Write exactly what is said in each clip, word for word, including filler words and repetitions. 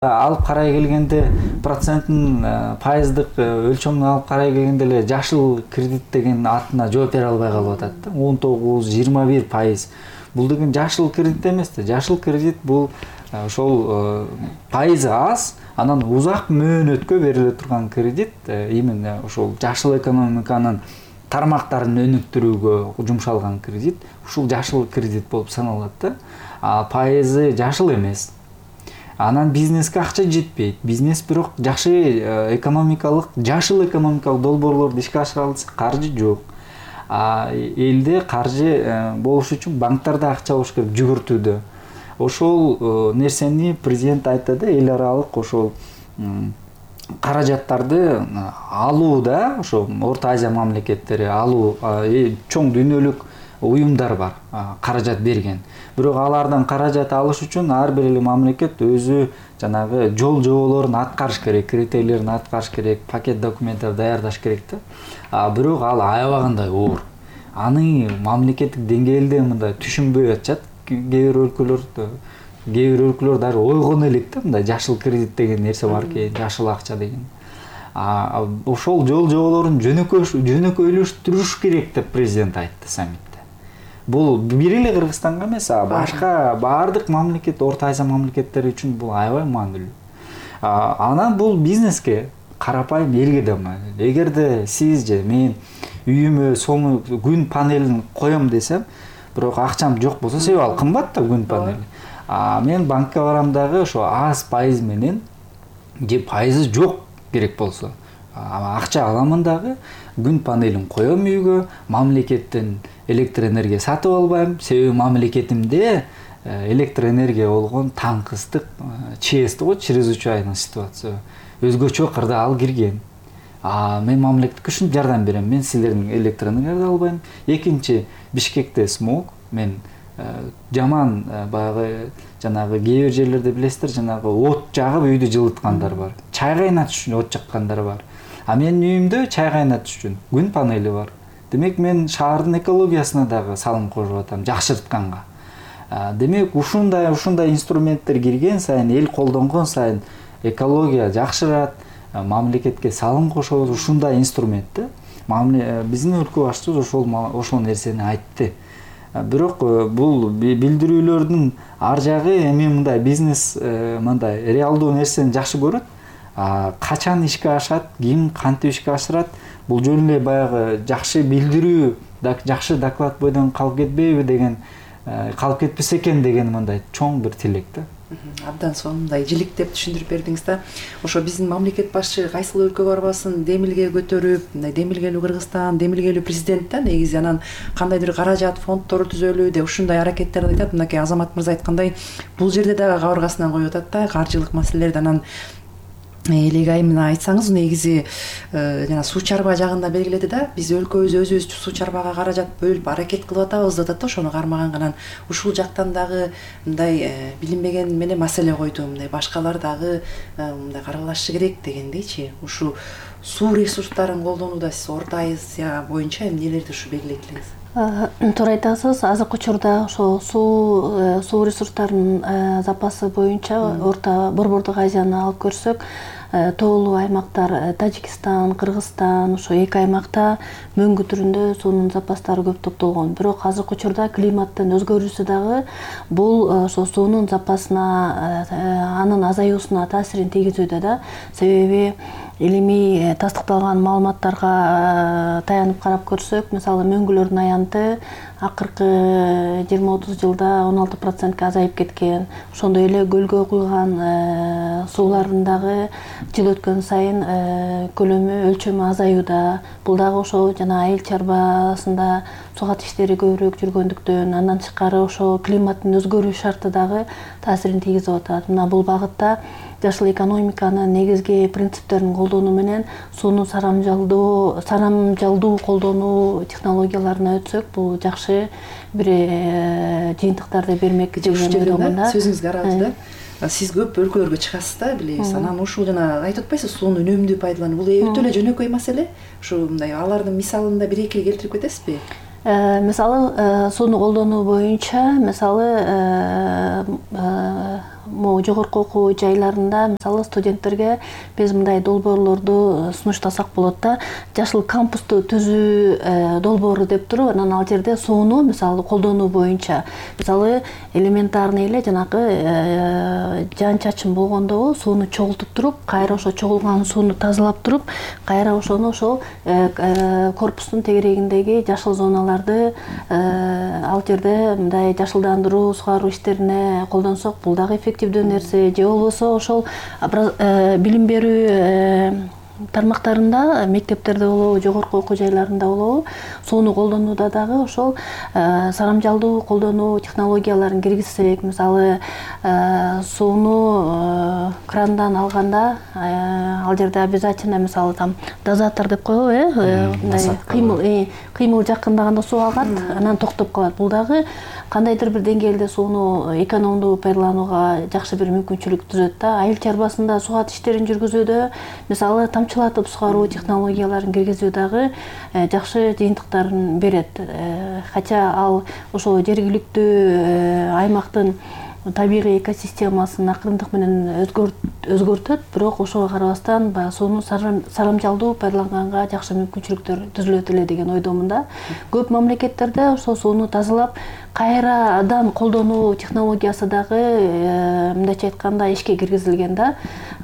Алып карай келгенде проценттин пайыздык өлчөмүн алып карай келгенде эле жашыл кредит деген атына жооп бере албай калып атат да. он тогуз жыйырма бир пайыз. Бул деген жашыл кредит эмес да. Жашыл кредит бул ошол пайызы аз, анан узак мөөнөткө бериле турган кредит, именно ошол жашыл экономиканын тармактарын өнүктүрүүгө жумшалган кредит. Ушул жашыл кредит болуп саналат да. А пайызы жашыл эмес. Анан бизнеске акча жетпейт. Бизнес бирок жакшы экономикалык, жашыл экономикалык долбоорлорду ишке ашыра алса каржы жок. А элде каржы болуш үчүн банктарда акча болуш керек, жүгүртүүдө. Ошол нерсени президент айтты да, эл аралык ошол каражаттарды алууда, ошо Орто Азия мамлекеттери алуу, чоң дүйнөлүк уюмдар бар, каражат берген. Бирок алардан каражат алыш үчүн ар бир эле мамлекет өзү жанагы жол жоболорун аткарыш керек, критерийлерин аткарыш керек, пакет документтер даярдаш керек да. А бирок ал аябагандай оор. Аны мамлекеттик деңгээлде мындай түшүнбөй атышат. Кээ бир өлкөлөрдө, кээ бир өлкөлөр дагы ойгоно элек да, мындай жашыл кредит деген нерсе бар экен, жашыл акча деген. А ошол жол жоболорун жөнөкөйлөштүрүш керек деп президент айтты саммитте. Бул бир эле Кыргызстанга эмес, а башка баардык мамлекет, Орто Азия мамлекеттери үчүн бул аябай маанилүү. Анан бул бизнеске, карапайым элге да маанилүү. Эгерде сиз же мен үйүмө сону күн панелин коем десем, бирок акчам жок болсо, себеби ал кымбат да күн панели. А мен банкка барам дагы ошо аз пайыз менен же пайызы жок керек болсо, акча аламын дагы, күн панелин коем үйгө, мамлекеттен электр энергия сатып албайм, себеби мамлекетимде электр энергия болгон таңкыстык, ЧС го, чрезвычайный ситуация, өзгөчө кырда ал кирген. А мен мамлекетке ушинтип жардам берем, мен силердин электр энергияңарды албайм. Экинчи, Бишкекте смог, мен жаман баягы жанагы кээ бир жерлерде билесиздер, жанагы от жагып үйдү жылыткандар бар. Чай кайнатыш үчүн от жаккандар бар. А менин үйүмдө чай кайнатыш үчүн күн панели бар. Демек мен шаардын экологиясына дагы салым кошуп атам, жакшыртканга. Демек ушундай ушундай инструменттер кирген сайын, эл колдонгон сайын экология жакшырат, мамлекетке салым кошобуз, ушундай инструмент да. Биздин өлкө башчыбыз ошол ошол нерсени айтты. Бирок бул билдирүүлөрдүн ар жагы эми мындай бизнес мындай реалдуу нерсени жакшы көрөт. Качан ишке ашат, ким кантип ишке ашырат, бул жөн эле баягы жакшы билдирүү, жакшы доклад бойдон калып кетпейби деген, калып кетпесе экен деген мындай чоң бир тилек да. Абдан сонундай жиликтеп түшүндүрүп бердиңиз да. Ошо биздин мамлекет башчы кайсыл өлкө барбасын демилге көтөрүп, мындай демилгелүү Кыргызстан, демилгелүү президент да негизи, анан кандайдыр каражат фонддор түзөлүү деп ушундай аракеттерди айтат. Мынакей Азамат мырза айткандай, бул жерде дагы кабыргасынан коюп атат да каржылык маселелерди. Анан элек айымына айтсаңыз, негизи жана суу чарба жагында белгиледи да, биз өлкөбүз өзүбүз суу чарбага каражат бөлүп аракет кылып атабыз деп атат да, ошону кармаган. Анан ушул жактан дагы мындай билинбеген менен маселе койду, мындай башкалар дагы мындай каралашы керек дегендейчи. Ушу суу ресурстарын колдонууда сиз Орто Азия боюнча эмнелерди ушу белгилейт элеңиз? Туура айтасыз. Азыркы учурда ошо суу суу ресурстарынын запасы боюнча Орто Борбордук Азияны алып көрсөк, тоолуу аймактар Тажикстан, Кыргызстан, ошо эки аймакта мөңгү түрүндө суунун запастары көп топтолгон. Бирок азыркы учурда климаттын өзгөрүүсү дагы бул ошо суунун запасына, анын азаюусуна таасирин тийгизүүдө да. Себеби илимий тастыкталган маалыматтарга таянып карап көрсөк, мисалы мөңгүлөрдүн аянты акыркы жыйырма отуз жылда он алты процентке азайып кеткен. Ошондой эле көлгө куйган суулардын дагы жыл өткөн сайын көлөмү, өлчөмү азаюуда. Бул дагы ошо жана айыл чарбасында сугат иштери көбүрөөк жүргөндүктөн, андан тышкары ошо климаттын өзгөрүү шарты дагы таасирин тийгизип атат. Мына бул багытта жашыл экономиканын негизги принциптерин колдонуу менен сууну сарамжалдоо, сарамжалдуу колдонуу технологияларына өтсөк, бул жакшы бир жыйынтыктарды бермек деген ойдомун да. Сөзүңүзгө аралабыз да. Сиз көп өлкөлөргө чыгасыз да, билебиз. Анан ушул жана айтып атпайсыз, сууну үнөмдүү пайдалануу. Бул өтө эле жөнөкөй маселе. Ушу мындай алардын мисалында бир эки келтирип кетесизби? Мисалы сууну колдонуу боюнча, мисалы могу жогорку окуу жайларында мисалы студенттерге биз мындай долбоорлорду сунуштасак болот да. Жашыл кампусту түзүү долбоору деп туруп, анан ал жерде сууну мисалы колдонуу боюнча мисалы элементарный эле жанагы жан чачын болгондо сууну чогултуп туруп, кайра ошо чогулган сууну тазалап туруп, кайра ошону ошол корпустун тегерегиндеги жашыл зоналарды ал жерде мындай жашылдандыруу, сугаруу иштерине колдонсок, бул дагы эффективдүү нерсе. Же болбосо ошол билим берүү тармактарында, мектептерде болобу, жогорку окуу жайларында болобу, сууну колдонууда дагы ошол сарамжалдуу колдонуу технологияларын киргизсек, мисалы сууну крандан алганда ал жерде обязательно мисалы там дозатор деп коебу, э, мындай кыймыл кыймыл жакындаганда суу агат, анан токтоп калат. Бул дагы кандайдыр бир деңгээлде сууну экономдуу пайдаланууга жакшы бир мүмкүнчүлүк түзөт да. Айыл чарбасында сугат иштерин жүргүзүүдө мисалы тамчылатып сугаруу технологияларын киргизүү дагы жакшы жыйынтыктарын берет. Хотя ал ошо жергиликтүү аймактын табигый экосистемасын акырындык менен өзгөртөт, бирок ошого карабастан баягы сууну сарамжалдуу пайдаланганга жакшы мүмкүнчүлүктөр түзүлөт эле деген ойдомун да. Көп мамлекеттерде ошол сууну тазалап кайрадан колдонуу технологиясы дагы мындайча айтканда ишке киргизилген да.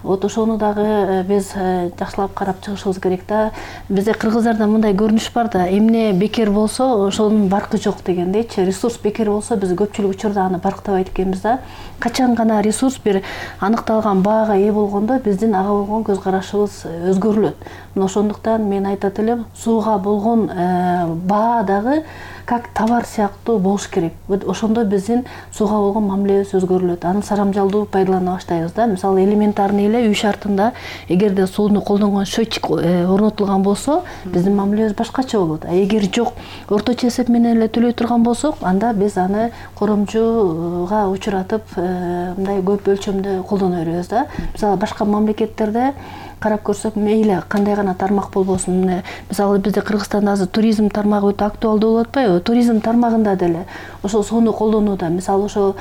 Вот ошону дагы биз жакшылап карап чыгышыбыз керек да. Бизде кыргыздарда мындай көрүнүш бар да, эмне бекер болсо ошонун баркы жок дегендейчи. Ресурс бекер болсо биз көпчүлүк учурда аны барктабайт экенбиз да. Качан гана ресурс бир аныкталган баага ээ болгондо биздин ага болгон көз карашыбыз өзгөрүлөт. Мына ошондуктан мен айтат элем, сууга болгон баа дагы как товар сыяктуу болуш керек. Ошондо биздин сууга болгон мамилебиз өзгөрүлөт. Аны сарамжалдуу пайдалана баштайбыз да. Мисалы элементарный эле үй шартында эгерде сууну колдонгон счетчик орнотулган болсо, биздин мамилебиз башкача болот. А эгер жок, орточо эсеп менен эле төлөй турган болсок, анда биз аны коромчуга учуратып, мындай көп өлчөмдө колдоно беребиз да. Мисалы башка мамлекеттерде карап көрсөк, мейли кандай гана тармак болбосун. Мисалы бизде Кыргызстанда азыр туризм тармагы өтө актуалдуу болуп атпайбы? Туризм тармагында деле ошол сууну колдонууда, мисалы ошо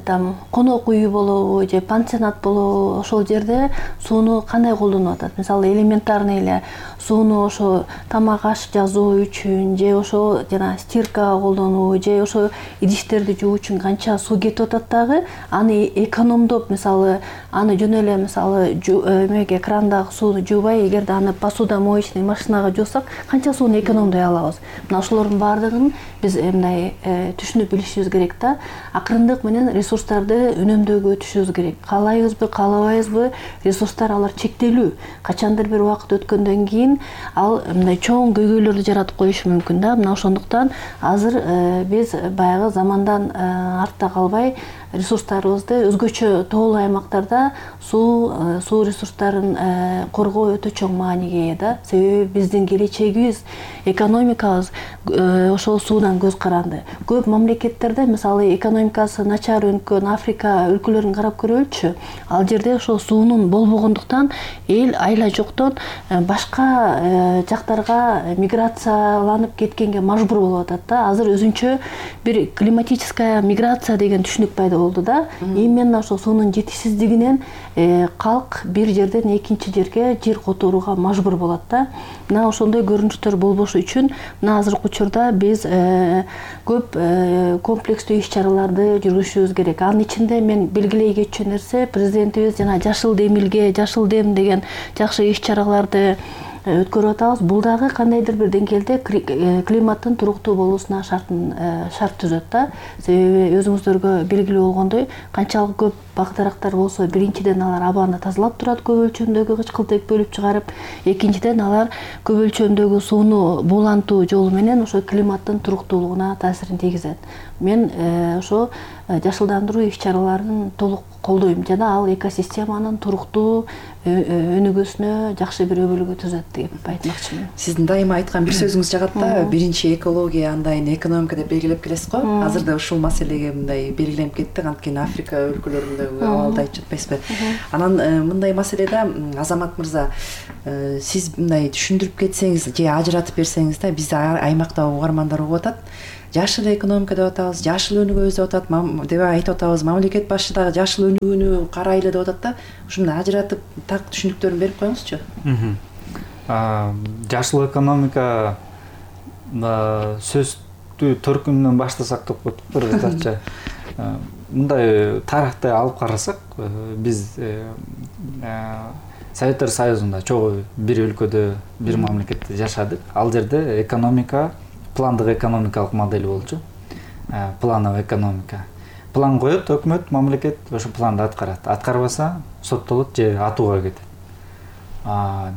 там конок үйү болобу же пансионат болобу, ошол жерде сууну кандай колдонуп атат? Мисалы элементарный эле сууну ошо тамак аш жазуу үчүн же ошо жана стирка колдонуу же ошо идиштерди жуу үчүн канча суу кетип атат дагы, аны экономдоп, мисалы аны жөн эле мисалы эмеге крандагы сууну жуубай, эгерде аны посудомоечный машинага жуусак, канча сууну экономдой алабыз. Мына ошолордун баардыгын биз мындай түшүнүп билишибиз керек да. Акырындык менен ресурстарды үнөмдөөгө өтүшүбүз керек. Каалайбызбы, каалабайбызбы, ресурстар алар чектелүү. Качандыр бир убакыт өткөндөн кийин ал мындай чоң көйгөйлөрдү жаратып коюшу мүмкүн да. Мына ошондуктан азыр биз баягы замандан артта калбай ресурстарыбызды өзгөчө тоолуу аймактарда суу суу ресурстарын коргоо өтө чоң мааниге ээ да. Себеби биздин келечегибиз, экономикабыз ошол суудан көз каранды. Көп мамлекеттерде мисалы экономикасы начар өнкөн Африка өлкөлөрүн карап көрөлүчү. Ал жерде ошол суунун болбогондуктан эл айла жоктон башка жактарга миграцияланып кеткенге мажбур болуп атат да. Азыр өзүнчө бир климатическая миграция деген түшүнүк пайда болду да. Именно ошол суунун жетишсиздигинен калк бир жерден экинчи жерге жер которууга мажбур болот да. Мына ошондой көрүнүштөр болбошу үчүн мына азыркы учурда биз көп комплекстүү иш-чараларды жүргүзүшүбүз керек. Анын ичинде мен белгилей кетчү нерсе, президентибиз жана жашыл демилге, жашыл дем деген жакшы иш-чараларды өткөрүп атабыз. Бул дагы кандайдыр бир деңгээлде климаттын туруктуу болуусуна шартын шарт түзөт да. Себеби өзүңүздөргө белгилүү болгондой, канчалык көп бак дарактар болсо, биринчиден алар абаны тазалап турат, көп өлчөмдөгү кычкылтек бөлүп чыгарып, экинчиден алар көп өлчөмдөгү сууну буулантуу жолу менен ошо климаттын туруктуулугуна таасирин тийгизет. Мен ошо жашылдандыруу иш-чараларын толук колдойм жана ал экосистеманын туруктуу өнүгүүсүнө жакшы бир өбөлгө түзөт деп айтмакчымын. Сиздин дайыма айткан бир сөзүңүз жагат да, биринчи экология, андан кийин экономика деп белгилеп келесиз го. Азыр да ушул маселеге мындай белгиленип кетти, анткени Африка өлкөлөрүндөгү абалды айтып жатпайсызбы? Анан мындай маселеде Азамат мырза, сиз мындай түшүндүрүп кетсеңиз же ажыратып берсеңиз да, бизде аймакта угармандар угуп атат. жашыл экономика деп атабыз, жашыл өнүгөбүз деп атат, деп айтып атабыз. Мамлекет башчы дагы жашыл өнүгүүнү карайлы деп атат да. Ушуну ажыратып так түшүнүктөрүн берип коюңузчу. Жашыл экономика сөздү төркүнүнөн баштасак деп коюп кыргызча. Мындай тарыхты алып карасак, биз Советтер Союзунда чогуу бир өлкөдө, бир мамлекетте жашадык. Ал жерде экономика пландык экономикалык модель болчу. Плановый экономика. План коет өкмөт, мамлекет ошо планды аткарат. Аткарбаса соттолот же атууга кетет.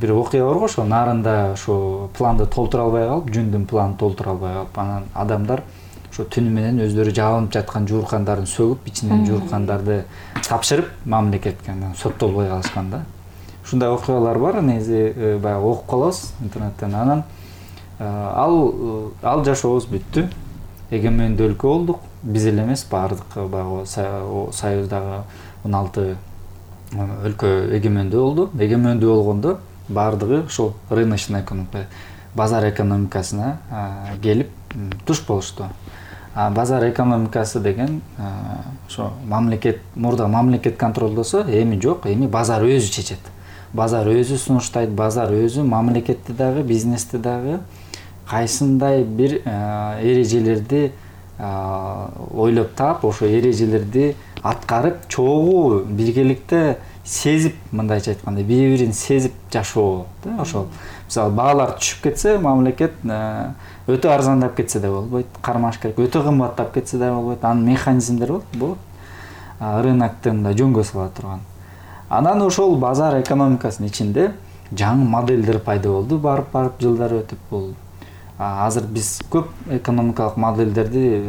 Бир окуя бар го, ошо нарында ошо планды толтура албай калып, жүндүн планын толтура албай калып, анан адамдар ошо түнү менен өздөрү жабынып жаткан жууркандарын сөгүп, ичинен жууркандарды тапшырып мамлекетке соттолбой калышкан да. Ушундай окуялар бар, негизи баягы окуп калабыз интернеттен. Анан ал ал жашообуз бүттү. Эгемендүү өлкө болдук. Биз эле эмес, баардык баягы Союздагы он алты өлкө эгемендүү болду. Эгемендүү болгондо баардыгы ошол рыночный экономика, базар экономикасына келип туш болушту. Базар экономикасы деген ошо мамлекет, мурда мамлекет контролдосо, эми жок, эми базар өзү чечет. Базар өзү сунуштайт, базар өзү мамлекетти дагы, бизнести дагы кайсындай бир эрежелерди ойлоп таап, ошо эрежелерди аткарып, чогуу биргеликте сезип, мындайча айтканда, бири-бирин сезип жашоо да, ошол. Мисалы, баалар түшүп кетсе, мамлекет өтө арзандап кетсе да болбойт, кармаш керек. Өтө кымбаттап кетсе да болбойт. Анын механизмдери болот. Рыноктун да жөнгө сала турган. Анан ошол базар экономикасынын ичинде жаңы модельдер пайда болду, барып-барып жылдар өтүп бул. Азыр биз көп экономикалык модельдерди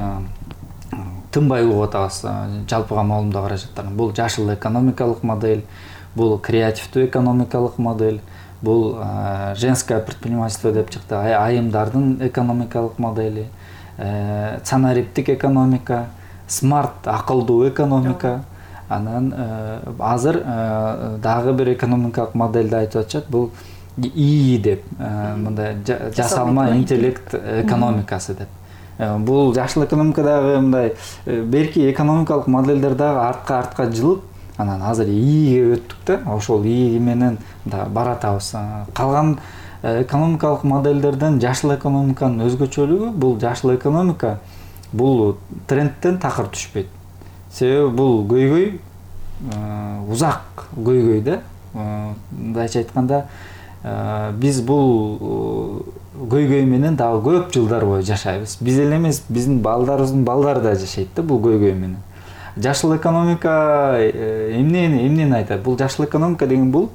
тынбай угуп атабыз. Жалпыга маалымдоо каражаттарын. Бул жашыл экономикалык модель, бул креативдүү экономикалык модель, бул женское предпринимательство деп чыкты, айымдардын экономикалык модели, цанариптик экономика, смарт акылдуу экономика. Анан азыр дагы бир экономикалык модельди айтып атышат, бул ИИ деп, мындай жасалма интеллект экономикасы деп. Бул жашыл экономикадагы мындай берки экономикалык модельдер дагы артка-артка жылып, анан азыр ИИге өттүк да, ошол ИИ менен да баратабыз. Калган экономикалык модельдерден жашыл экономиканын өзгөчөлүгү, бул жашыл экономика бул трендтен такыр түшпөйт. Себеби бул көйгөй узак көйгөй да. Мындайча айтканда, биз бул көйгөй менен дагы көп жылдар бою жашайбыз. Биз эле эмес, биздин балдарыбыздын балдары да жашайт да бул көйгөй менен. Жашыл экономика эмнени эмнени айтат? Бул жашыл экономика деген бул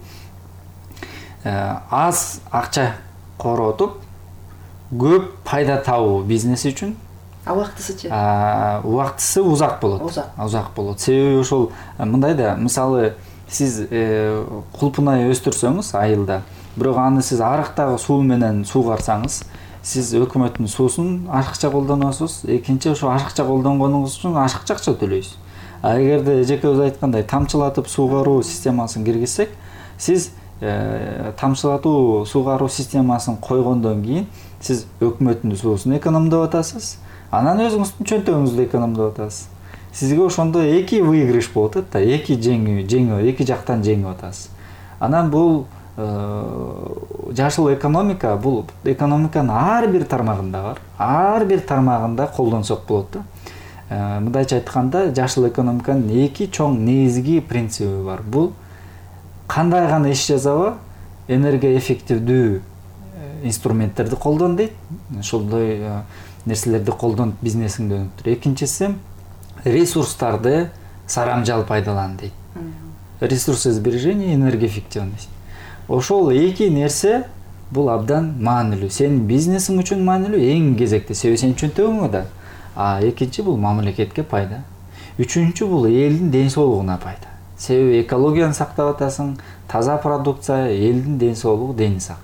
аз акча коротуп, көп пайда табуу бизнес үчүн. А убактысычы? Убактысы узак болот. Узак болот. Себеби ошол мындай да, мисалы, сиз кулпунай өстүрсөңүз айылда, бирок аны сиз арыктагы суу менен суугарсаңыз, сиз өкмөттүн суусун ашыкча колдоносуз, экинчи ошо ашыкча колдонгонуңуз үчүн ашыкча акча төлөйсүз. А эгерде эжекебиз айткандай тамчылатып суугаруу системасын киргизсек, сиз тамчылатуу суугаруу системасын койгондон кийин сиз өкмөттүн суусун экономдоп атасыз, анан өзүңүздүн чөнтөгүңүздү экономдоп атасыз. Сизге ошондо эки выигрыш болуп атат да, эки жеңүү, жеңүү, эки жактан жеңип атасыз. Анан бул жашыл экономика, бул экономиканын ар бир тармагында бар. Ар бир тармагында колдонсок болот да. Мындайча айтканда, жашыл экономиканын эки чоң негизги принциби бар. Бул кандай гана иш жасаба, энергия эффективдүү инструменттерди колдон дейт. Ошондой нерселерди колдонуп бизнесиңди өнүктүр. Экинчиси, ресурстарды сарамжал пайдалан дейт. Ресурсосбережение, энергоэффективность. Ошол эки нерсе бул абдан маанилүү. Сенин бизнесиң үчүн маанилүү, эң кезекте, себеби сенин чөнтөгүңө да. А экинчи бул мамлекетке пайда. Үчүнчү бул элдин ден соолугуна пайда. Себеби экологияны сактап атасың, таза продукция, элдин ден соолугу дени сак.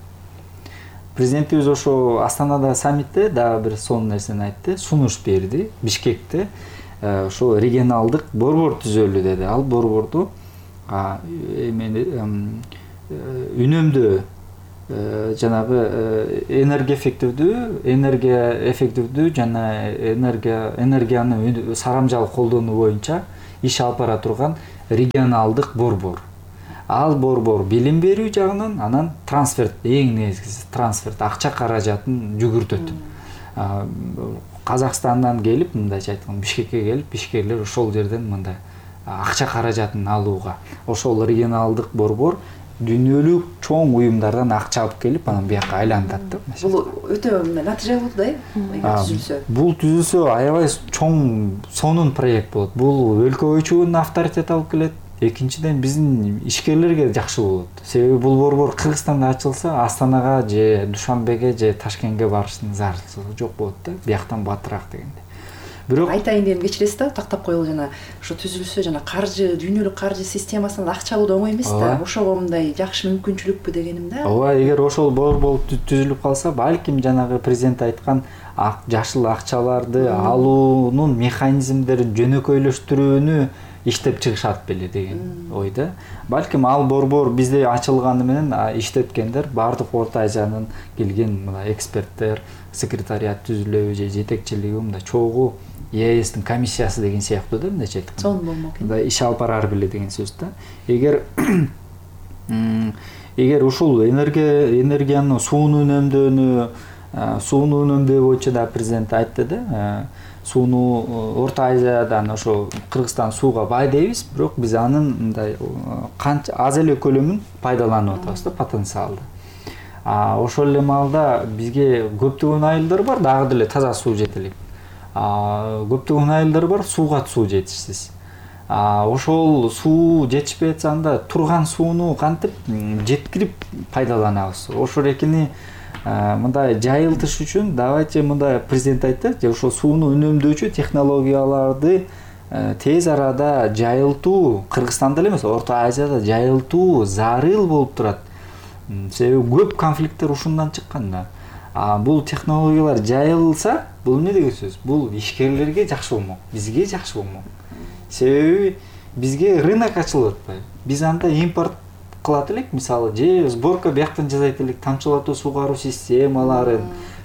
Президентибиз ошо Астанада саммитте дагы бир сонун нерсени айтты, сунуш берди Бишкекте. Ошо регионалдык борбор түзөлү деди. Ал борборду эмени үнөмдөө жанагы энергия эффективдүү энергия эффективдүү жана энергия энергияны сарамжалуу колдонуу боюнча иш алып бара турган регионалдык борбор. Ал борбор билим берүү жагынан, анан трансферт, эң негизгиси трансферт, акча каражатын жүгүртөт. Казакстандан келип, мындайча айтканда, Бишкекке келип, ишкерлер ошол жерден мындай акча каражатын алууга, ошол регионалдык борбор дүйнөлүк чоң уюмдардан акча алып келип, анан бияка айлантат да. Бул өтө натыйжалуу болду да, эгер түзүлсө. Бул түзүлсө аябай чоң сонун проект болот. Бул өлкө бойчу авторитет алып келет. Экинчиден биздин ишкерлерге жакшы болот. Себеби бул борбор Кыргызстанда ачылса, Астанага же Душанбеге же Ташкентке барыштын зарылчылыгы жок болот да, бияктан батыраак дегенде. Бирок айтайын дегенди кечиресиз да, тактап коелу, жана ошо түзүлсө, жана каржы, дүйнөлүк каржы системасынан акча алуу да оңой эмес да. Ошого мындай жакшы мүмкүнчүлүкпү дегеним да. Ооба, эгер ошол борбор түзүлүп калса, балким жанагы президент айткан жашыл акчаларды алуунун механизмдерин жөнөкөйлөштүрүүнү иштеп чыгышат беле деген ойда. Балким ал борбор бизде ачылганы менен иштеткендер, бардык Орто Азиянын келген мына эксперттер, секретариат түзүлөбү же жетекчилиги мындай чогуу Е Эстин комиссиясы деген сыяктуу да, мындайча айтканда. Сонун болмок. Мындай иш алып барар беле деген сөз да. Эгер эгер ушул энергия энергияны сууну үнөмдөөнү, сууну үнөмдөө боюнча да президент айтты да. Сууну Орто Азиядан ошо Кыргызстан сууга бай дейбиз, бирок биз анын мындай канча аз эле көлөмүн пайдаланып атабыз да, потенциалды. А ошол эле маалда бизге көптөгөн айылдар бар, дагы деле таза суу жете элек. А көптөгөн айылдар бар, сууга суу жетишсиз. А ошол суу жетишпей атса, анда турган сууну кантип жеткирип пайдаланабыз. Ошол экини мындай жайылтыш үчүн давайте мындай президент айтты, же ошол сууну үнөмдөөчү технологияларды тез арада жайылтуу, Кыргызстанда эле эмес, Орто Азияда жайылтуу зарыл болуп турат. Себеби көп конфликттер ушундан чыккан да. А бул технологиялар жайылса, бул эмне деген сөз? Бул ишкерлерге жакшы болмок, бизге жакшы болмок. Себеби бизге рынок ачылып атпайбы? Биз анда импорт кылат элек, мисалы, же сборка бияктан жасайт элек, тамчылатуу сугаруу системаларын,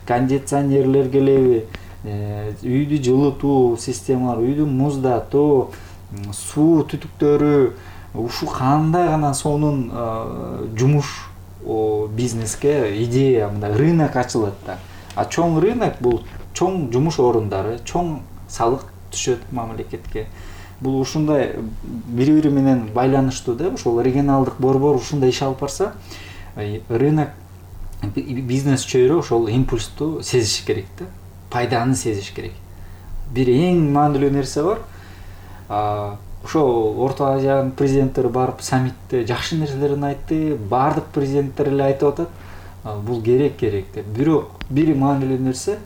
кондиционерлер келеби, үйдү жылытуу системалары, үйдү муздатуу, суу түтүктөрү, ушу кандай гана сонун жумуш бизнеске идея, мындай рынок ачылат да. А чоң рынок бул чоң жумуш орундары, чоң салык түшөт мамлекетке. Бул ушундай бири-бири менен байланыштуу да, ошол регионалдык борбор ушундай иш алып барса, рынок бизнес чөйрө ошол импульсту сезиш керек да, пайданы сезиш керек. Бир эң маанилүү нерсе бар. Ошо Орто Азиянын президенттери барып саммитте жакшы нерселерин айтты, бардык президенттер эле айтып атат, бул керек керек деп. Бирок бир маанилүү нерсе,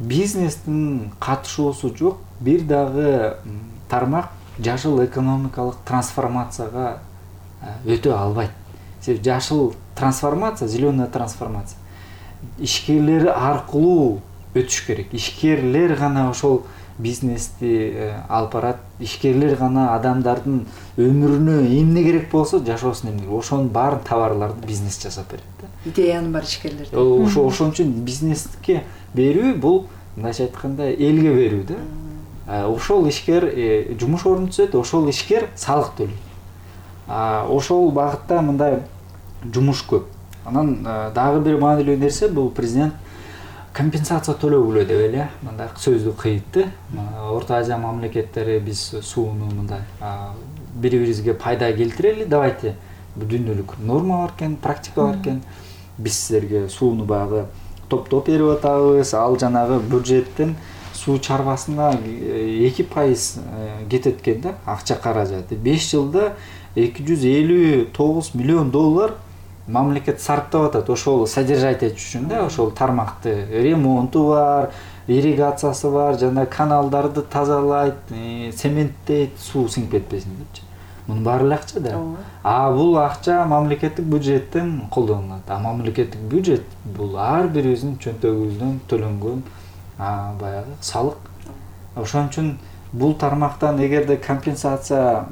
бизнестин катышуусу жок бир дагы тармак жашыл экономикалык трансформацияга өтө албайт. Себеби жашыл трансформация, зеленая трансформация ишкерлер аркылуу өтүш керек. Ишкерлер гана ошол бизнести алып барат, ишкерлер гана адамдардын өмүрүнө эмне керек болсо, жашоосуна эмне, ошонун баарын товарларды бизнес жасап берет да. Идеянын баары ишкерлерде. Ошо ошон үчүн бизнеске берүү бул мындайча айтканда элге берүү да. Ошол ишкер жумуш орун түзөт, ошол ишкер салык төлөйт. Ошол багытта мындай жумуш көп. Анан дагы бир маанилүү нерсе, бул президент компенсация төлөгүлө деп эле мындай сөздү кыйтты. Орто Азия мамлекеттери биз сууну мындай бири-бирибизге пайда келтирели, давайте бул дүйнөлүк норма бар экен, практика бар экен. Биз силерге сууну багы топтоп берип атабыз, ал жанагы бюджеттен суу чарбасына эки пайыз кетет экен да, акча каражаты. беш жылда эки жүз элүү тогуз миллион доллар мамлекет сарптап атат ошол содержать этиш үчүн да, ошол тармакты. Ремонту бар, ирригациясы бар, жана каналдарды тазалайт, цементтейт, суу сиңип кетпесин депчи. Мунун баары эле акча да. А бул акча мамлекеттик бюджеттен колдонулат. А мамлекеттик бюджет бул ар бирибиздин чөнтөгүбүздөн төлөнгөн баягы салык. Ошон үчүн бул тармактан эгерде компенсация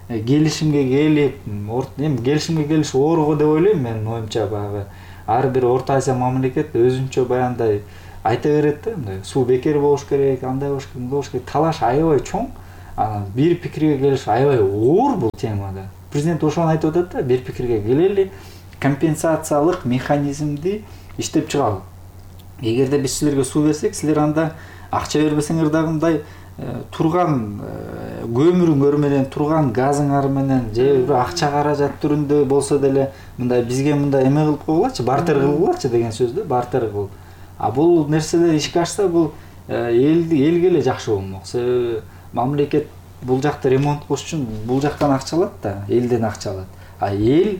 келишимге келип, эми келишимге келиш оор го деп ойлойм мен, оюмча баягы ар бир Орто Азия мамлекет өзүнчө баягындай айта берет да, мындай суу бекер болуш керек, андай болуш керек, мындай болуш керек. Талаш аябай чоң. Анан бир пикирге келиш аябай оор бул темада. Президент ошону айтып атат да, бир пикирге келели, компенсациялык механизмди иштеп чыгалы. Эгерде биз силерге суу берсек, силер анда акча бербесеңер дагы мындай турган көмүрүңөр менен, турган газыңар менен же бир акча каражат түрүндө болсо деле мындай бизге мындай эме кылып койгулачы, бартер кылгылачы деген сөз да, бартер кыл. А бул нерселер ишке ашса, бул эл элге эле жакшы болмок. Себеби мамлекет бул жакта ремонт кылыш үчүн бул жактан акча алат да, элден акча алат. А эл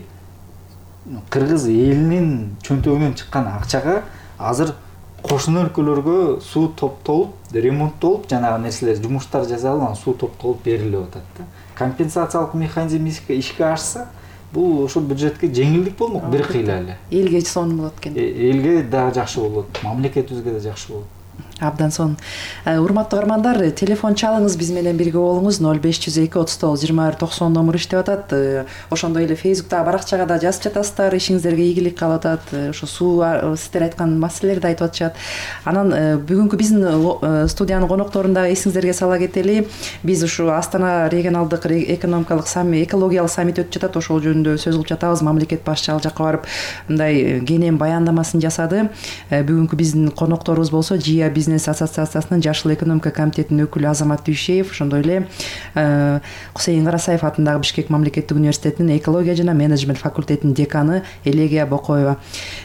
кыргыз элинин чөнтөгүнөн чыккан акчага азыр кошуна өлкөлөргө суу топтолуп, ремонттолуп, жанагы нерселер, жумуштар жасалып, анан суу топтолуп берилип атат да. Компенсациялык механизм ишке ашса, бул ошол бюджетке жеңилдик болмок бир кыйла эле. Элге сонун болот экен. Элге дагы жакшы болот, мамлекетибизге да жакшы болот. Абдан сонун. Урматтуу угармандар, телефон чалыңыз, биз менен бирге болуңуз. ноль беш жүз эки отуз тогуз жыйырма бир токсон номер иштеп атат. Ошондой эле Facebook'та баракчага да жазып жатасыздар, ишиңиздерге ийгилик калып атат. Ошо суу сиздер айткан маселелерди айтып атышат. Анан бүгүнкү биздин студиянын конокторун дагы эсиңиздерге сала кетели. Биз ушу Астана регионалдык экономикалык саммит, экологиялык саммит өтүп жатат. Ошол жөнүндө сөз кылып жатабыз. Мамлекет башчы ал жакка барып мындай кенен баяндамасын жасады. Бүгүнкү биздин конокторубуз болсо ЖИА бизнес ассоциациясынын Жашыл экономика комитетинин өкүлү Азамат Дүйшеев, ошондой эле Кусейин Карасаев атындагы Бишкек мамлекеттик университетинин экология жана менеджмент факультетинин деканы Элегия Бокоева.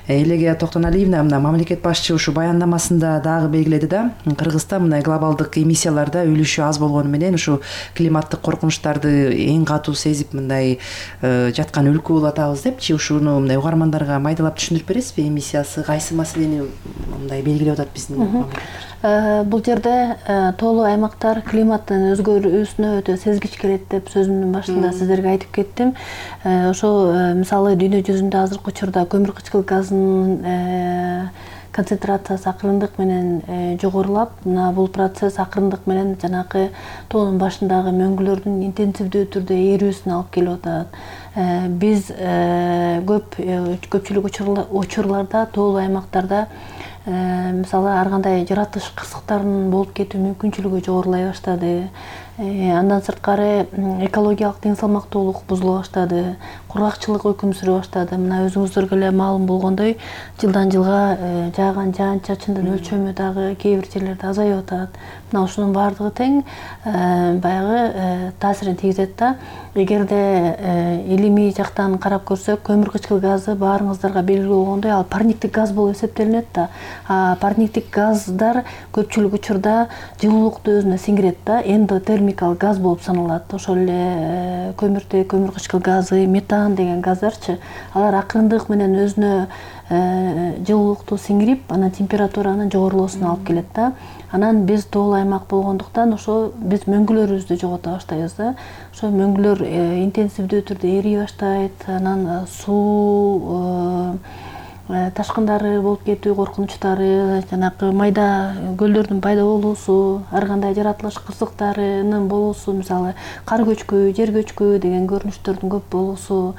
Элегия Токтоналиевна мына мамлекет башчы ушу баяндамасында дагы белгиледи да, Кыргызстан мына глобалдык эмиссияларда үлүшү аз болгону менен ушу климаттык коркунучтарды эң катуу сезип мындай жаткан өлкө болуп атабыз депчи, ушуну мындай угармандарга майдалап түшүндүрүп бересизби? Эмиссиясы кайсы маселени мындай белгилеп атат биздин мамлекет? Бул жерде тоолуу аймактар климаттын өзгөрүүсүнө өтө сезгич келет деп сөзүмдүн башында сиздерге айтып кеттим. Ошо мисалы дүйнө жүзүндө азыркы учурда көмүр кычкыл газынын концентрациясы акырындык менен жогорулап, мына бул процесс акырындык менен жанагы тоонун башындагы мөңгүлөрдүн интенсивдүү түрдө эрүүсүнө алып келип атат. Биз көп көпчүлүк учурларда тоолуу аймактарда мисалы ар кандай жаратылыш кырсыктарынын болуп кетүү мүмкүнчүлүгү жогорулай баштады. Андан сырткары экологиялык тең салмактуулук бузула баштады, кургакчылык өкүм сүрө баштады. Мына өзүңүздөргө эле маалым болгондой, жылдан жылга жааган жаан-чачындын өлчөмү дагы кээ бир жерлерде азайып атат. Мына ушунун баардыгы тең баягы таасирин тийгизет да. Эгерде илимий жактан карап көрсөк, көмүр кычкыл газы баарыңыздарга белгилүү болгондой, ал парниктик газ болуп эсептелинет да. А парниктик газдар көпчүлүк учурда жылуулукту өзүнө сиңирет да, эндотермикалык газ болуп саналат. Ошол эле көмүртөк, көмүр кычкыл газы, метан деген газдарчы, алар акырындык менен өзүнө жылуулукту сиңирип, анан температуранын жогорулоосуна алып келет да. Анан биз тоолуу аймак болгондуктан ошо биз мөңгүлөрүбүздү жогото баштайбыз да. Ошо мөңгүлөр интенсивдүү түрдө эрий баштайт, анан суу ташкындары болуп кетүү коркунучтары, жанагы майда көлдөрдүн пайда болуусу, ар кандай жаратылыш кырсыктарынын болуусу, мисалы кар көчкү, жер көчкү деген көрүнүштөрдүн көп болуусу,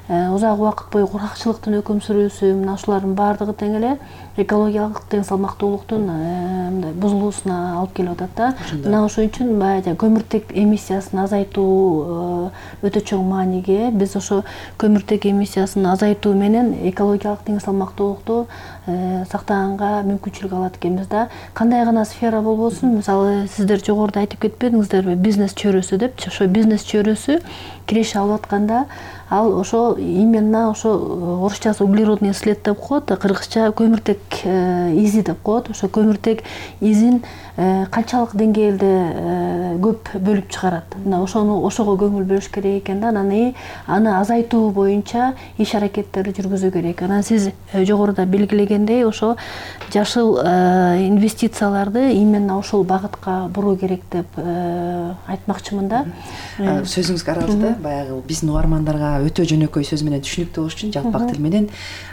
узак убакыт бою кургакчылыктын өкүм сүрүүсү, мына ушулардын баардыгы тең эле экологиялык тең салмактуулуктун мындай бузулуусуна алып келип атат да. Мына ошон үчүн баягы көмүртек эмиссиясын азайтуу өтө чоң мааниге. Биз ошо көмүртек эмиссиясын азайтуу менен экологиялык тең салмактуулукту сактаганга мүмкүнчүлүк алат экенбиз да. Кандай гана сфера болбосун, мисалы сиздер жогоруда айтып кетпедиңиздерби, бизнес чөйрөсү депчи. Ошо бизнес чөйрөсү киреше алып атканда, ал ошо именно ошо орусчасы углеродный след деп коет, кыргызча көмүртек изи деп коет. Ошо көмүртек изин канчалык деңгээлде көп бөлүп чыгарат. Мына ошону ошого көңүл бөлүш керек экен да. Анан аны азайтуу боюнча иш аракеттерди жүргүзүү керек. Анан сиз жогоруда белгилеген дегендей ошо жашыл инвестицияларды именно ошол багытка буруу керек деп айтмакчымын да. Сөзүңүзгө аралашты, баягы биздин угармандарга өтө жөнөкөй сөз менен түшүнүктүү болуш үчүн жалпак тил менен,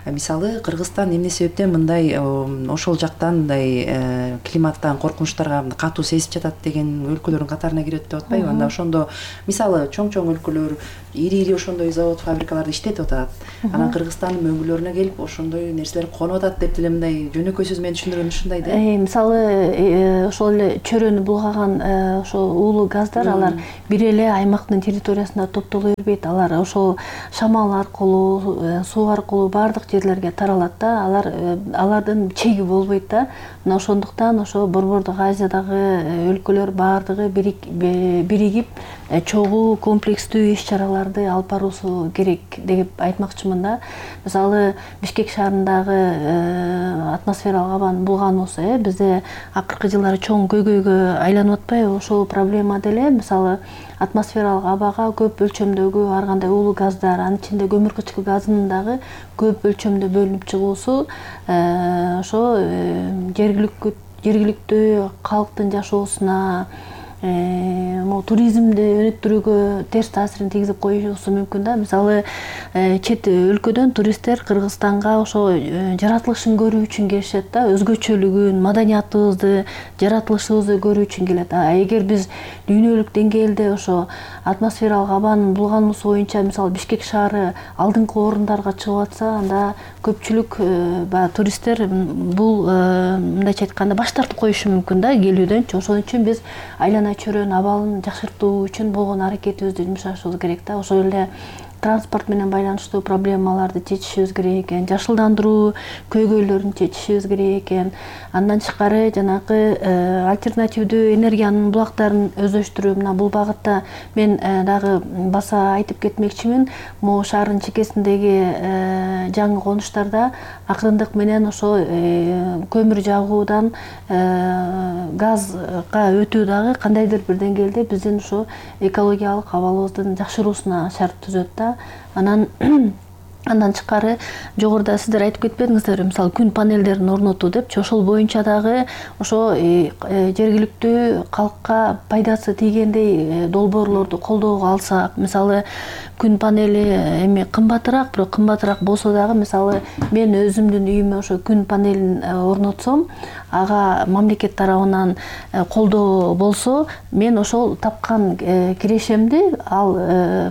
мисалы Кыргызстан эмне себептен мындай ошол жактан мындай климаттан коркунучтарга катуу сезип жатат деген өлкөлөрдүн катарына кирет деп атпайбы? Анда ошондо мисалы чоң-чоң өлкөлөр ири-ири ошондой завод, фабрикаларды иштетип атат. Анан Кыргызстандын мөңгүлөрүнө келип ошондой нерселер конуп атат деп деле мындай жөнөкөй сөз менен түшүндүргөн ушундай да. Мисалы ошол эле чөрөнү булгаган ошо уулуу газдар алар бир эле аймактын территориясында топтоло бербейт. Алар ошол шамал аркылуу, суу аркылуу баардык жерлерге таралат да. Алар алардын чеги болбойт да. Мына ошондуктан ошо Борбордук Азиядагы өлкөлөр баардыгы биригип чогуу комплекстүү иш-чараларды алып баруусу керек деп айтмакчымын да. Мисалы Бишкек шаарындагы атмосфералык абанын булгануусу э бизде акыркы жылдары чоң көйгөйгө айланып атпайбы? Ошол проблема деле мисалы атмосфералык абага көп өлчөмдөгү ар кандай уулуу газдар, анын ичинде көмүркычкыл газынын дагы көп өлчөмдө бөлүнүп чыгуусу ошо жергиликтүү жергиликтүү калктын жашоосуна, могу туризмди өнүктүрүүгө терс таасирин тийгизип коюшу мүмкүн да. Мисалы чет өлкөдөн туристтер Кыргызстанга ошо жаратылышын көрүү үчүн келишет да, өзгөчөлүгүн, маданиятыбызды, жаратылышыбызды көрүү үчүн келет. А эгер биз дүйнөлүк деңгээлде ошо атмосфералык абанын булгануусу боюнча мисалы Бишкек шаары алдыңкы орундарга чыгып атса, анда көпчүлүк баягы туристтер бул мындайча айтканда баш тартып коюшу мүмкүн да келүүдөнчү. Ошон үчүн биз айлана чөрөнүн абалын жакшыртуу үчүн болгон аракетибизди жумшашыбыз керек да. Ошол эле транспорт менен байланыштуу проблемаларды чечишибиз керек экен, жашылдандыруу көйгөйлөрүн чечишибиз керек экен. Андан тышкары жанагы альтернативдүү энергиянын булактарын өздөштүрүү, мына бул багытта мен дагы баса айтып кетмекчимин. Могу шаардын чекесиндеги жаңы конуштарда акырындык менен ошо көмүр жагуудан газга өтүү дагы кандайдыр бир деңгээлде биздин ошо экологиялык абалыбыздын жакшыруусуна шарт түзөт да. Анан андан тышкары жогоруда сиздер айтып кетпедиңиздерби, мисалы күн панелдерин орнотуу депчи, ошол боюнча дагы ошо жергиликтүү калкка пайдасы тийгендей долбоорлорду колдоого алсак, мисалы күн панели эми кымбатыраак, бирок кымбатыраак болсо дагы мисалы мен өзүмдүн үйүмө ошо күн панелин орнотсом, ага мамлекет тарабынан колдоо болсо, мен ошол тапкан кирешемди, ал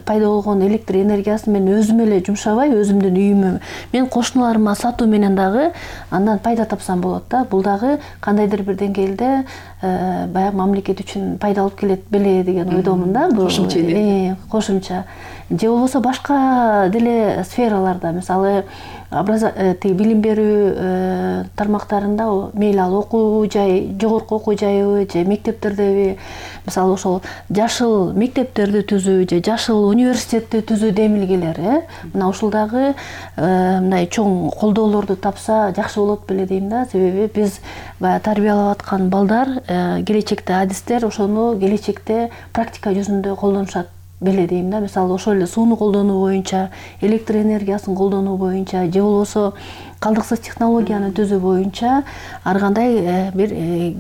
пайда болгон электр энергиясын мен өзүм эле жумшабай, өзүмдүн үйүмө мен кошуналарыма сатуу менен дагы андан пайда тапсам болот да. Бул дагы кандайдыр бир деңгээлде баягы мамлекет үчүн пайда алып келет беле деген ойдомун да. Кошумча кошумча же болбосо башка деле сфераларда, мисалы тиги билим берүү тармактарында, мейли ал окуу жай, жогорку окуу жайыбы же мектептердеби, мисалы ошол жашыл мектептерди түзүү же жашыл университетти түзүү демилгелер, э мына ушул дагы мындай чоң колдоолорду тапса жакшы болот беле дейм да. Себеби биз баягы тарбиялап аткан балдар, келечекте адистер ошону келечекте практика жүзүндө колдонушат беле дейм да. Мисалы ошол эле сууну колдонуу боюнча, электр энергиясын колдонуу боюнча же болбосо калдыксыз технологияны түзүү боюнча ар кандай бир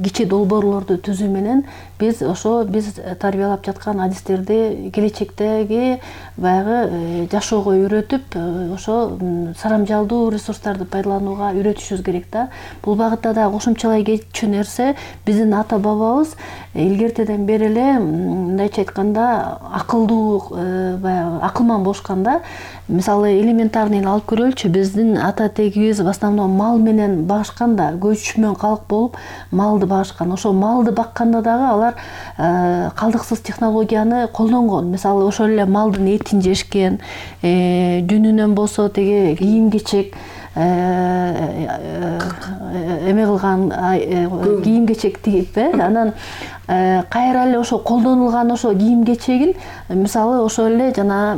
кичи долбоорлорду түзүү менен биз ошо биз тарбиялап жаткан адистерди келечектеги баягы жашоого үйрөтүп, ошо сарамжалдуу ресурстарды пайдаланууга үйрөтүшүбүз керек да. Бул багытта да кошумчалай кетчү нерсе, биздин ата бабабыз илгертеден бери эле мындайча айтканда акылдуу, баягы акылман болушкан да. Мисалы элементарный алып көрөлүчү, биздин ата тегибиз в основном мал менен багышкан да, көчмөн калк болуп малды багышкан. Ошо малды бакканда дагы алар калдыксыз технологияны колдонгон. Мисалы ошол эле малдын этин жешкен, жүнүнөн болсо теги кийим-кечек эме кылган, кийим-кечек тигип, э анан кайра эле ошо колдонулган ошо кийим-кечегин мисалы ошол эле жана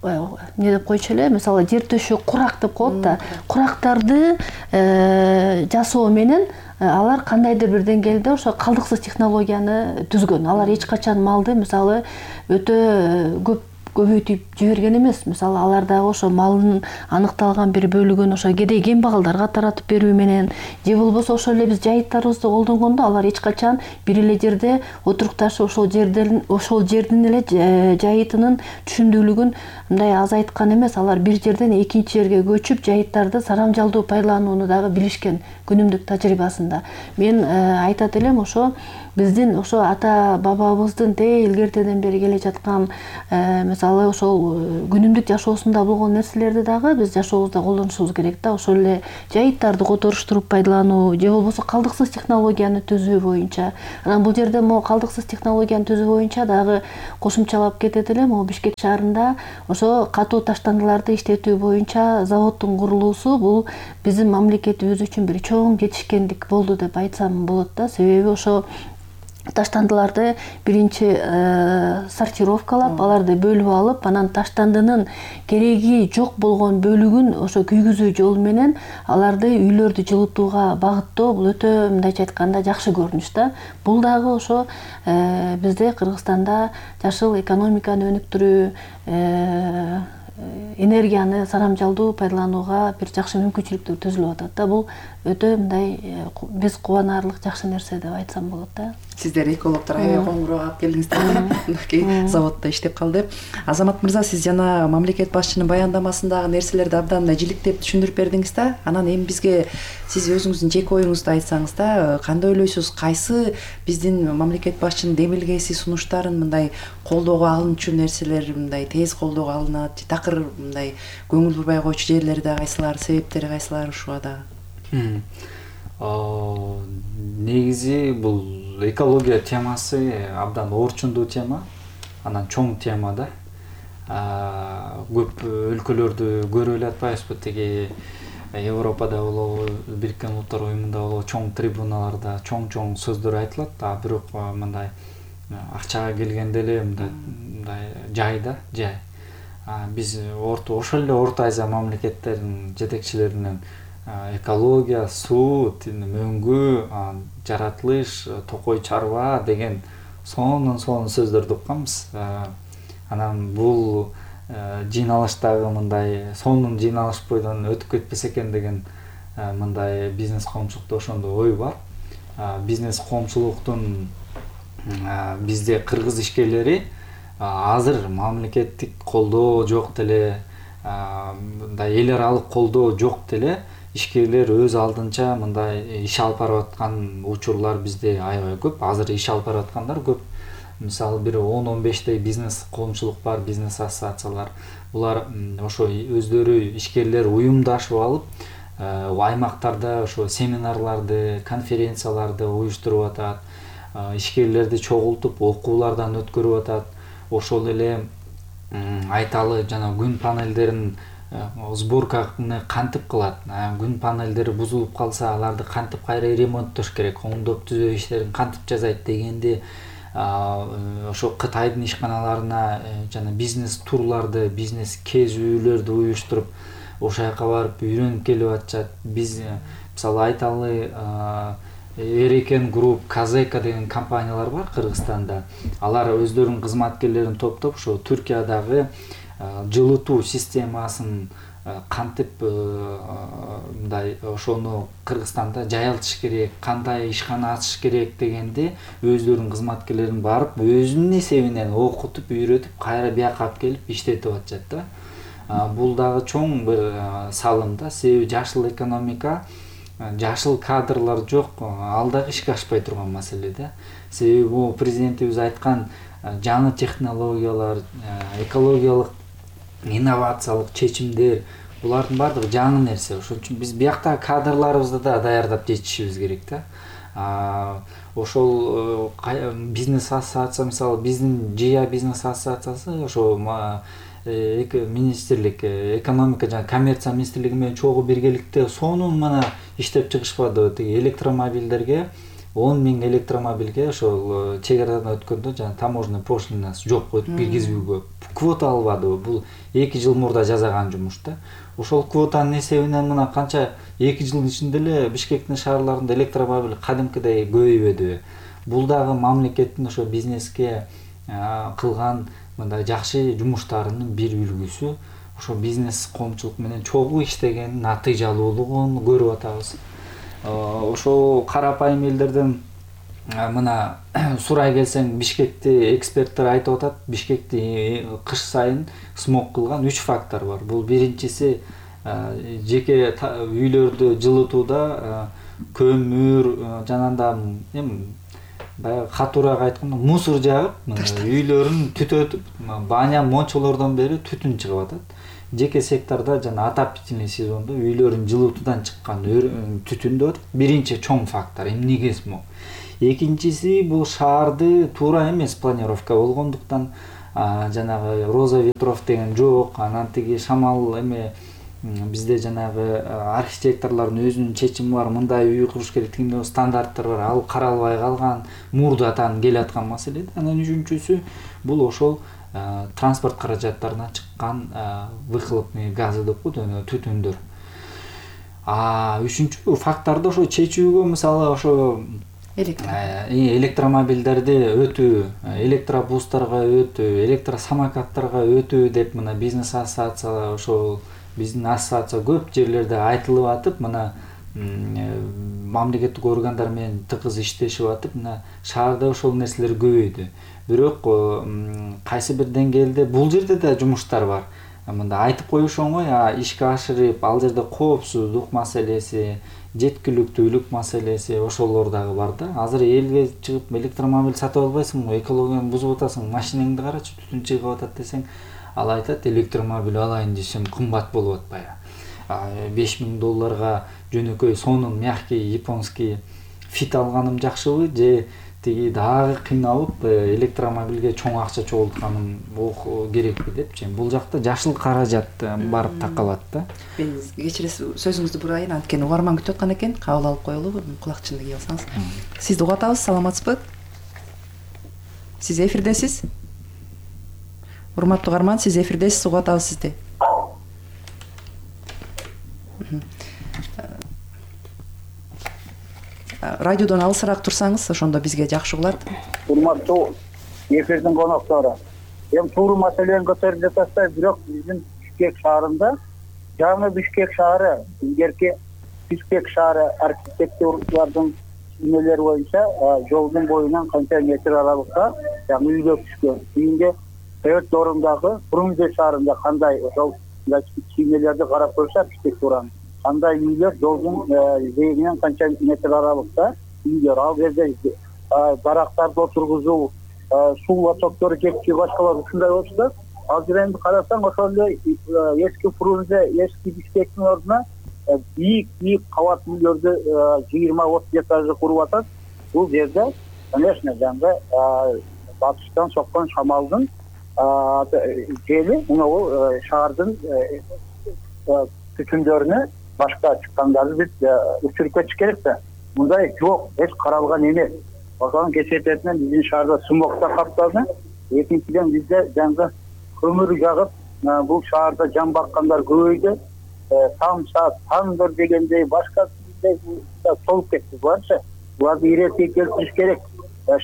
эмне деп койчу эле, мисалы жер төшөк курак деп коет да, курактарды жасоо менен алар кандайдыр бир деңгээлде ошо калдыксыз технологияны түзгөн. Алар эч качан малды мисалы өтө көп көбөйтүп жиберген эмес. Мисалы алар дагы ошо малдын аныкталган бир бөлүгүн ошо кедей кембагалдарга таратып берүү менен же болбосо ошол эле биз жайыттарыбызды колдонгондо алар эч качан бир эле жерде отурукташып ошол жерден ошол жердин эле жайытынын түшүмдүүлүгүн мындай азайткан эмес. Алар бир жерден экинчи жерге көчүп жайыттарды сарамжалдуу пайдаланууну дагы билишкен күнүмдүк тажрыйбасында. Мен айтат элем ошо биздин ошо ата бабабыздын те илгертеден бери келе жаткан мисалы ошол күнүмдүк жашоосунда болгон нерселерди дагы биз жашообузда колдонушубуз керек да. Ошол эле жайыттарды которуштуруп пайдалануу же болбосо калдыксыз технологияны түзүү боюнча. Анан бул жерде могу калдыксыз технологияны түзүү боюнча дагы кошумчалап кетет элем. Могу Бишкек шаарында ошо катуу таштандыларды иштетүү боюнча заводдун курулуусу бул биздин мамлекетибиз үчүн бир чоң жетишкендик болду деп айтсам болот да. Себеби ошо таштандыларды биринчи сортировкалап, аларды бөлүп алып, анан таштандынын кереги жок болгон бөлүгүн ошо күйгүзүү жолу менен аларды үйлөрдү жылытууга багыттоо бул өтө мындайча айтканда жакшы көрүнүш да. Бул дагы ошо бизде Кыргызстанда жашыл экономиканы өнүктүрүү, энергияны сарамжалдуу пайдаланууга бир жакшы мүмкүнчүлүктөр түзүлүп атат да. Бул өтө мындай биз кубанаарлык жакшы нерсе деп айтсам болот да. Сиздер экологдор аябай коңгуроо алып келдиңиздер. Мынакей заводдо иштеп калды. Азамат мырза, сиз жана мамлекет башчынын баяндамасындагы нерселерди абдан жиликтеп түшүндүрүп бердиңиз да. Анан эми бизге сиз өзүңүздүн жеке оюңузду айтсаңыз да, кандай ойлойсуз, кайсы биздин мамлекет башчынын демилгеси, сунуштарын мындай колдоого алынчу нерселер мындай тез колдоого алынат, же такыр мындай көңүл бурбай койчу жерлери да кайсылар, себептери кайсылар ушуга дагы? Негизи бул экология темасы абдан орчундуу тема, анан чоң тема да. Көп өлкөлөрдү көрүп эле атпайбызбы, тиги Европада болобу, Бириккен Улуттар Уюмунда болобу, чоң трибуналарда чоң-чоң сөздөр айтылат, а бирок мындай акчага келгенде эле мындай жайда жай. Биз орто ошол эле Орто Азия мамлекеттеринин жетекчилеринен экология, суу, мөңгү, жаратылыш, токой чарба деген сонун сонун сөздөрдү укканбыз. Анан бул жыйналыштагы мындай сонун жыйналыш бойдон өтүп кетпесе экен деген мындай бизнес коомчулукта ошондой ой бар. Бизнес коомчулуктун бизде кыргыз ишкерлери азыр мамлекеттик колдоо жок деле, мындай эл аралык колдоо жок деле, ишкерлер өз алдынча мындай иш алып барып аткан учурлар бизде аябай көп. Азыр иш алып барып аткандар көп. Мисалы бир он он бештей бизнес коомчулук бар, бизнес ассоциациялар. Булар ошо өздөрү ишкерлер уюмдашып алып, аймактарда ошо семинарларды, конференцияларды уюштуруп атат, ишкерлерди чогултуп окуулардан өткөрүп атат. Ошол эле айталы жана күн панелдерин сборканы кантип кылат, күн панелдери бузулуп калса аларды кантип кайра ремонттош керек, оңдоп түзөө иштерин кантип жасайт дегенди ошо Кытайдын ишканаларына жана бизнес турларды, бизнес кезүүлөрдү уюштуруп ошол жака барып үйрөнүп келип атышат. Биз мисалы айталы Эрекен групп, Казека деген компаниялар бар Кыргызстанда. Алар өздөрүнүн кызматкерлерин топтоп ошо Түркиядагы жылытуу системасын кантип мындай ошону Кыргызстанда жайылтыш керек, кандай ишкана ачыш керек дегенди өздөрүнүн кызматкерлерин барып өзүнүн эсебинен окутуп, үйрөтүп, кайра бияка алып келип иштетип атышат да. Бул дагы чоң бир салым да. Себеби жашыл экономика, жашыл кадрлар жок, ал дагы ишке ашпай турган маселе да. Себеби бул президентибиз айткан жаңы технологиялар, экологиялык инновациялык чечимдер, булардын баардыгы жаңы нерсе. Ошон үчүн биз биякта кадрларыбызды да даярдап жетишибиз керек да. Ошол бизнес ассоциация, мисалы биздин ЖИА бизнес ассоциациясы ошо министрлик, экономика жана коммерция министрлиги менен чогуу биргеликте сонун мына иштеп чыгышпады. Тиги электромобилдерге он миң электромобилге ошол чек арадан өткөндө жана таможенный пошлинасы жок коюп киргизүүгө квота албадыбы. Бул эки жыл мурда жасаган жумуш да. Ошол квотанын эсебинен мына канча эки жылдын ичинде эле Бишкектин шаарларында электромобиль кадимкидей көбөйбөдү. Бул дагы мамлекеттин ошо бизнеске кылган мындай жакшы жумуштарынын бир үлгүсү ошо бизнес коомчулук менен чогуу иштегенин натыйжалуулугун көрүп атабыз. Ошол карапайым элдерден мына сурай келсең, Бишкекти эксперттер айтып атат, Бишкекти кыш сайын смог кылган үч фактор бар. Бул биринчиси жеке үйлөрдү жылытууда көмүр жанагындай эми баягы катуураак айтканда мусор жагып, үйлөрүн түтөтүп, баня мончолордон бери түтүн чыгып атат. Жеке сектордо жана отопительный сезондо үйлөрүн жылытуудан чыккан түтүн деп атат. Биринчи чоң фактор эмнеге смог. Экинчиси бул шаарды туура эмес планировка болгондуктан жанагы роза ветров деген жок, анан тиги шамал эме бизде жанагы архитекторлордун өзүнүн чечими бар, мындай үй куруш керек деген стандарттар бар, ал каралбай калган, мурдатан келаткан маселе. Анан үчүнчүсү бул ошол транспорт каражаттарына чыккан выхлопный газы деп коет, түтүндөр. А үчүнчү факторду ошо чечүүгө мисалы ошо электромобилдерди өтүү, электробустарга өтүү, электросамокаттарга өтүү деп мына бизнес ассоциация ошол биздин ассоциация көп жерлерде айтылып атып, мына мамлекеттик органдар менен тыгыз иштешип атып, мына шаарда ошол нерселер көбөйдү. Бирок кайсы бир деңгээлде бул жерде да жумуштар бар. Мында айтып коюш оңой, а ишке ашырып, ал жерде коопсуздук маселеси, жеткиликтүүлүк маселеси ошолор дагы бар да. Азыр элге чыгып электромобиль сатып албайсың, экологияны бузуп атасың, машинеңди карачы, түтүн чыгып атат десең, ал айтат электромобиль алайын десем кымбат болуп атпайбы. беш миң долларга жөнөкөй сонун мягкий японский фит алганым жакшыбы, же тиги дагы кыйналып электромобилге чоң акча чогултканым керекпи депчи. Бул жакта жашыл каражат барып такалат да. Мен кечиресиз, сөзүңүздү бурайын, анткени угарман күтүп аткан экен, кабыл алып коелубу, кулакчынды кийип алсаңыз. Сизди угуп атабыз, саламатсызбы? Сиз эфирдесиз? Урматтуу угарман, сиз эфирдесиз, угуп атабыз сизди. Радиодон алысыраак турсаңыз, ошондо бизге жакшы угулат. Урматтуу эфирдин коноктору, эми тууру маселени көтөрүп жатасыздар, бирок биздин Бишкек шаарында, жаңы Бишкек шаары, илгерки Бишкек шаары архитекторлордун чизмелери боюнча жолдун боюнан канча метр аралыкта жаңы үйлөр түшкөн. Кийинки төрт орундагы Фрунзе шаарында кандай ошол чизмелерди карап көрсө архитектураны, кандай үйлөр жолдун жээгинен канча метр аралыкта үйлөр, ал жерде дарактарды отургузуу, суу лотоктору жетпей башкалар ушундай болчу да. Азыр эми карасаң ошол эле эски Фрунзе, эски Бишкектин ордуна бийик бийик кабат үйлөрдү жыйырма отуз этажды куруп атат. Бул жерде, конечно, жаңы батыштан соккон шамалдын жели мына шаардын түтүндөрүнө башка чыккандарды биз өчүрүп кетиш керек да. Мындай жок, эч каралган эмес. Ошонун кесепетинен биздин шаарда смогта капталды. Экинчиден бизде жаңы көмүр жагып, бул шаарда жан баккандар көбөйдү. Тамса, тандыр дегендей башка толуп кетти барчы. Буларды иретке келтириш керек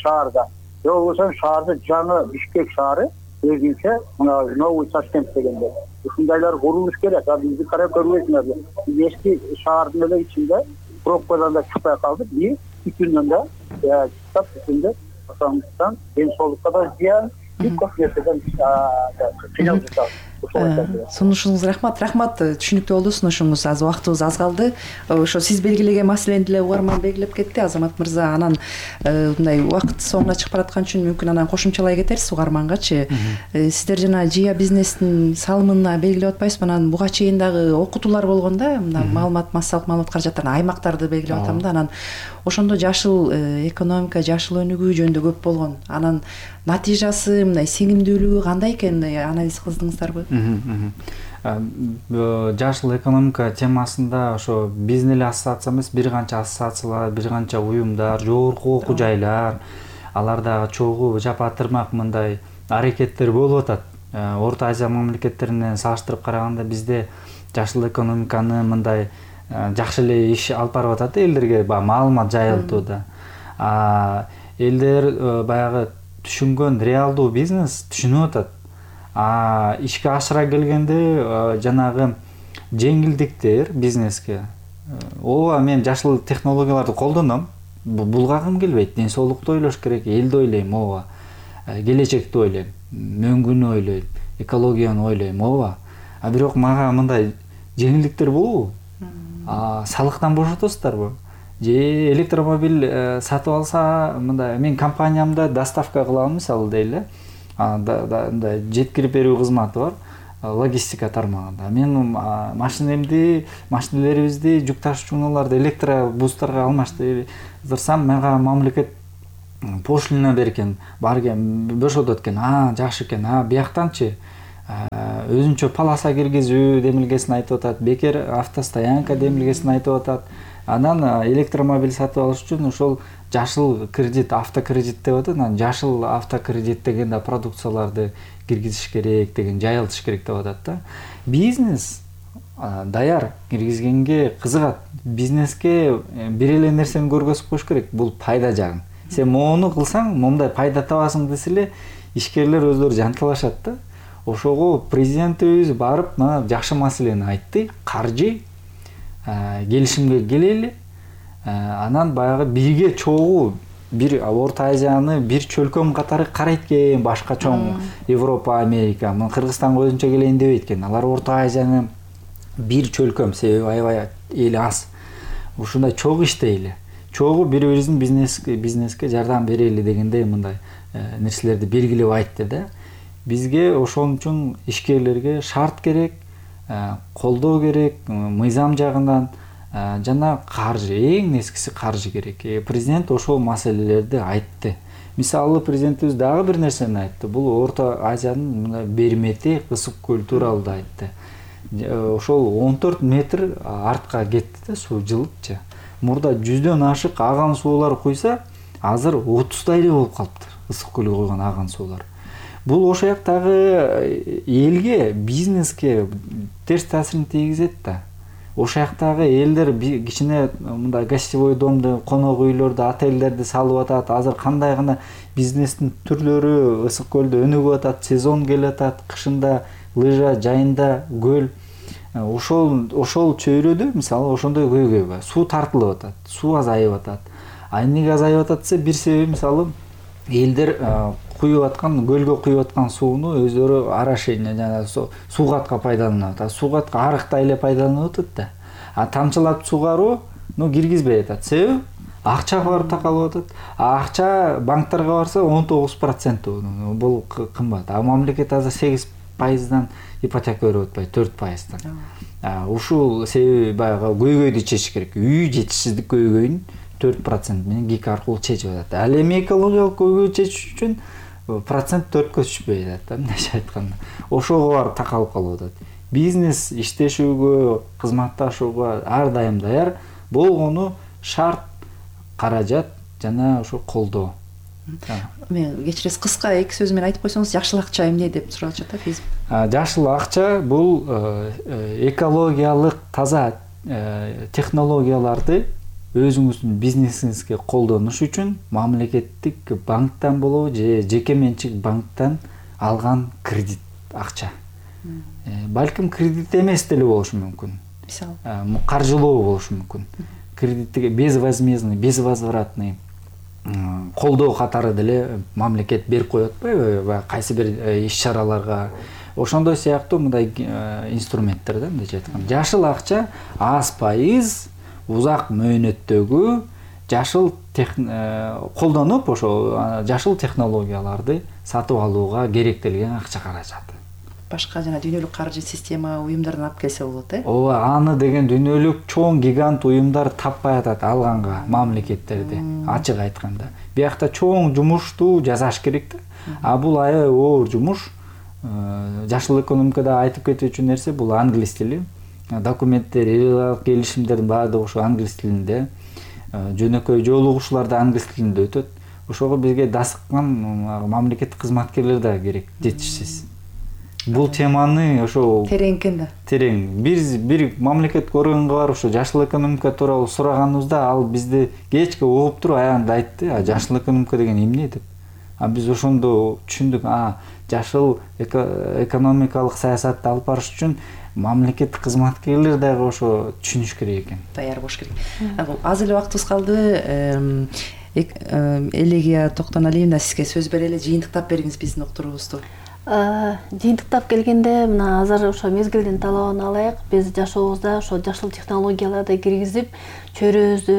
шаарда. Же болбосо шаарды жаңы Бишкек шаары өзүнчө мына новый Ташкент дегенде ушундайлар курулуш керек. А бизди карап көрбөйсүңөр. Биз эски шаардын эле ичинде пробкадан да чыкпай калдык. И түтүндөн да чыктап түтүндө ошондуктан ден соолукка да зыян, көп нерседен кыйналып жатабыз. Сунушуңузга рахмат. Рахмат, түшүнүктүү болду сунушуңуз. Аз убактыбыз аз калды. Ошо сиз белгилеген маселени деле угарман белгилеп кетти, Азамат мырза. Анан мындай убакыт соңуна чыгып бараткан үчүн мүмкүн анан кошумчалай кетерсиз угармангачы. Сиздер жана Жия бизнестин салымына белгилеп атпайсызбы? Анан буга чейин дагы окутуулар болгон да, мына маалымат, массалык маалымат каражаттарын аймактарды белгилеп атам да. Анан ошондо жашыл экономика, жашыл өнүгүү жөнүндө көп болгон. Анан натыйжасы, мындай сиңимдүүлүгү кандай экен, анализ кылдыңыздарбы? Жашыл экономика темасында ошо биздин эле ассоциация эмес, бир канча ассоциациялар, бир канча уюмдар, жогорку окуу жайлар, алар дагы чогуу жапатырмак мындай аракеттер болуп атат. Орто Азия мамлекеттеринен салыштырып караганда бизде жашыл экономиканы мындай жакшы эле иш алып барып атат элдерге маалымат жайылтууда. Элдер баягы түшүнгөн реалдуу бизнес түшүнүп атат. А ишке ашыра келгенде жанагы жеңилдиктер бизнеске, ооба мен жашыл технологияларды колдоном, булгагым келбейт. Ден соолукту ойлош керек, элди ойлойм, ооба. Келечекти ойлойм, мөңгүнү ойлойм, экологияны ойлойм, ооба. А бирок мага мындай жеңилдиктер болобу? А салыктан бошотосуздарбы? Же электромобиль сатып алса, мындай мен компаниямда доставка кылам мисалы дейли, мындай жеткирип берүү кызматы бар, логистика тармагында. Мен машинемди, машинелерибизди, жүк ташуучу унааларды электробустарга алмаштырсам, мага мамлекет пошлина берген, барген, бошотот экен. А, жакшы экен. А, бияктанчы өзүнчө полоса киргизүү демилгесин айтып атат, бекер автостоянка демилгесин айтып атат. Анан электромобиль сатып алыш үчүн ошол жашыл кредит, автокредит деп атат. Анан жашыл автокредит деген да продукцияларды киргизиш керек деген, жайылтыш керек деп атат да. Бизнес даяр киргизгенге кызыгат. Бизнеске бир эле нерсени көргөзүп коюш керек, бул пайда жагын. Сен моуну кылсаң, момундай пайда табасың десе эле ишкерлер өздөрү жанталашат да. Ошого президентибиз барып, мына жакшы маселени айтты, каржы келишимге келели, анан баягы бирге чогуу бир Орто Азияны бир чөлкөм катары карайт экен, башка чоң Европа, Америка, мына Кыргызстанга өзүнчө келейин дебейт экен. Алар Орто Азияны бир чөлкөм, себеби аябай эли аз. Ушундай чогуу иштейли. Чогуу бири-бирибиздин бизнеске бизнеске жардам берели дегендей мындай нерселерди белгилеп айтты да. Бизге ошон үчүн ишкерлерге шарт керек, колдоо керек, мыйзам жагынан жана каржы, эң нескиси каржы керек. Президент ошол маселелерди айтты. Мисалы президентибиз дагы бир нерсени айтты. Бул Орто Азиянын бермети, ысык көл тууралуу да айтты. Ошол он төрт метр артка кетти да, суу жылыпчы. Мурда жүздөн ашык аган суулар куйса, азыр отуздай эле болуп калыптыр. Ысык көлгө койгон аган суулар. Бул ошол жактагы элге, бизнеске терс таасирин тийгизет да. Ошол жактагы элдер кичине мындай гостевой домду, конок үйлөрдү, отелдерди салып атат. Азыр кандай гана бизнестин түрлөрү ысык көлдө өнүгүп атат, сезон келип атат, кышында лыжа, жайында көл. Ошол ошол чөйрөдө мисалы ошондой көйгөй бар. Суу тартылып атат, суу азайып атат. А эмнеге азайып атат десе, бир себеби мисалы элдер куюп аткан, көлгө куюп аткан сууну өздөрү орошение, жана суугатка пайдаланып атат. Суугатка арыктай эле пайдаланып атат да. А тамчылап сугаруу, ну киргизбей атат. Себеби акча барып такалып атат. А акча банктарга барса он тогуз процент бул кымбат. А мамлекет азыр сегиз пайыздан ипотека берип атпайбы, төрт пайыздан. Ушул себеби баягы көйгөйдү чечиш керек. Үй жетишсиздик көйгөйүн төрт процент менен ГИК аркылуу чечип атат. Ал эми экологиялык көйгөйдү чечиш үчүн процент төрткө түшпөй атат, мындайча айтканда. Ошого барып такалып калып атат. Бизнес иштешүүгө, кызматташууга ар дайым даяр, болгону шарт, каражат жана ошо колдоо. Мен кечиресиз, кыска эки сөз менен айтып койсоңуз, жашыл акча эмне деп суралышат да биз. Жашыл акча бул экологиялык таза технологияларды өзүңүздүн бизнесиңизге колдонуш үчүн мамлекеттик банктан болобу же жеке менчик банктан алган кредит акча. Балким кредит эмес деле болушу мүмкүн. Мисалы, каржылоо болушу мүмкүн. Кредитти безвозмездный, безвозвратный колдоо катары деле мамлекет берип коет атпайбы, кайсы бир иш-чараларга. Ошондой сыяктуу мындай инструменттер да, мындайча айтканда. Жашыл акча аз пайыз узак мөөнөттөгү жашыл колдонуп, ошо жашыл технологияларды сатып алууга керектелген акча каражаты. Башка жана дүйнөлүк каржы система уюмдардан алып келсе болот, э? Ооба, аны деген дүйнөлүк чоң гигант уюмдар таппай атат алганга мамлекеттерди, ачык айтканда. Биякта чоң жумушту жасаш керек да. А бул аябай оор жумуш. Жашыл экономикада айтып кетүүчү нерсе бул англис тили. Документтер, элек келишимдердин баардыгы ошо англис тилинде. Жөнөкөй жолугушуулар да англис тилинде өтөт. Ошого бизге дасыккан мамлекеттик кызматкерлер да керек, жетишсиз. Бул теманы ошо терең экен да. Терең. Биз бир мамлекет органга барып ошо жашыл экономика тууралуу сураганыбызда ал бизди кечке угуп туруп аягында айтты, а жашыл экономика деген эмне деп. А биз ошондо түшүндүк, а жашыл экономикалык саясатты алып барыш үчүн мамлекеттик кызматкерлер дагы ошо түшүнүш керек экен. Даяр болуш керек. Аз эле убактыбыз калды. Элегия Токтоналиевна, сизге сөз берели, жыйынтыктап бериңиз биздин уктуруубузду. Жыйынтыктап келгенде, мына азыр ошо мезгилдин талабын алайык. Биз жашообузда ошо жашыл технологияларды киргизип, чөйрөбүздү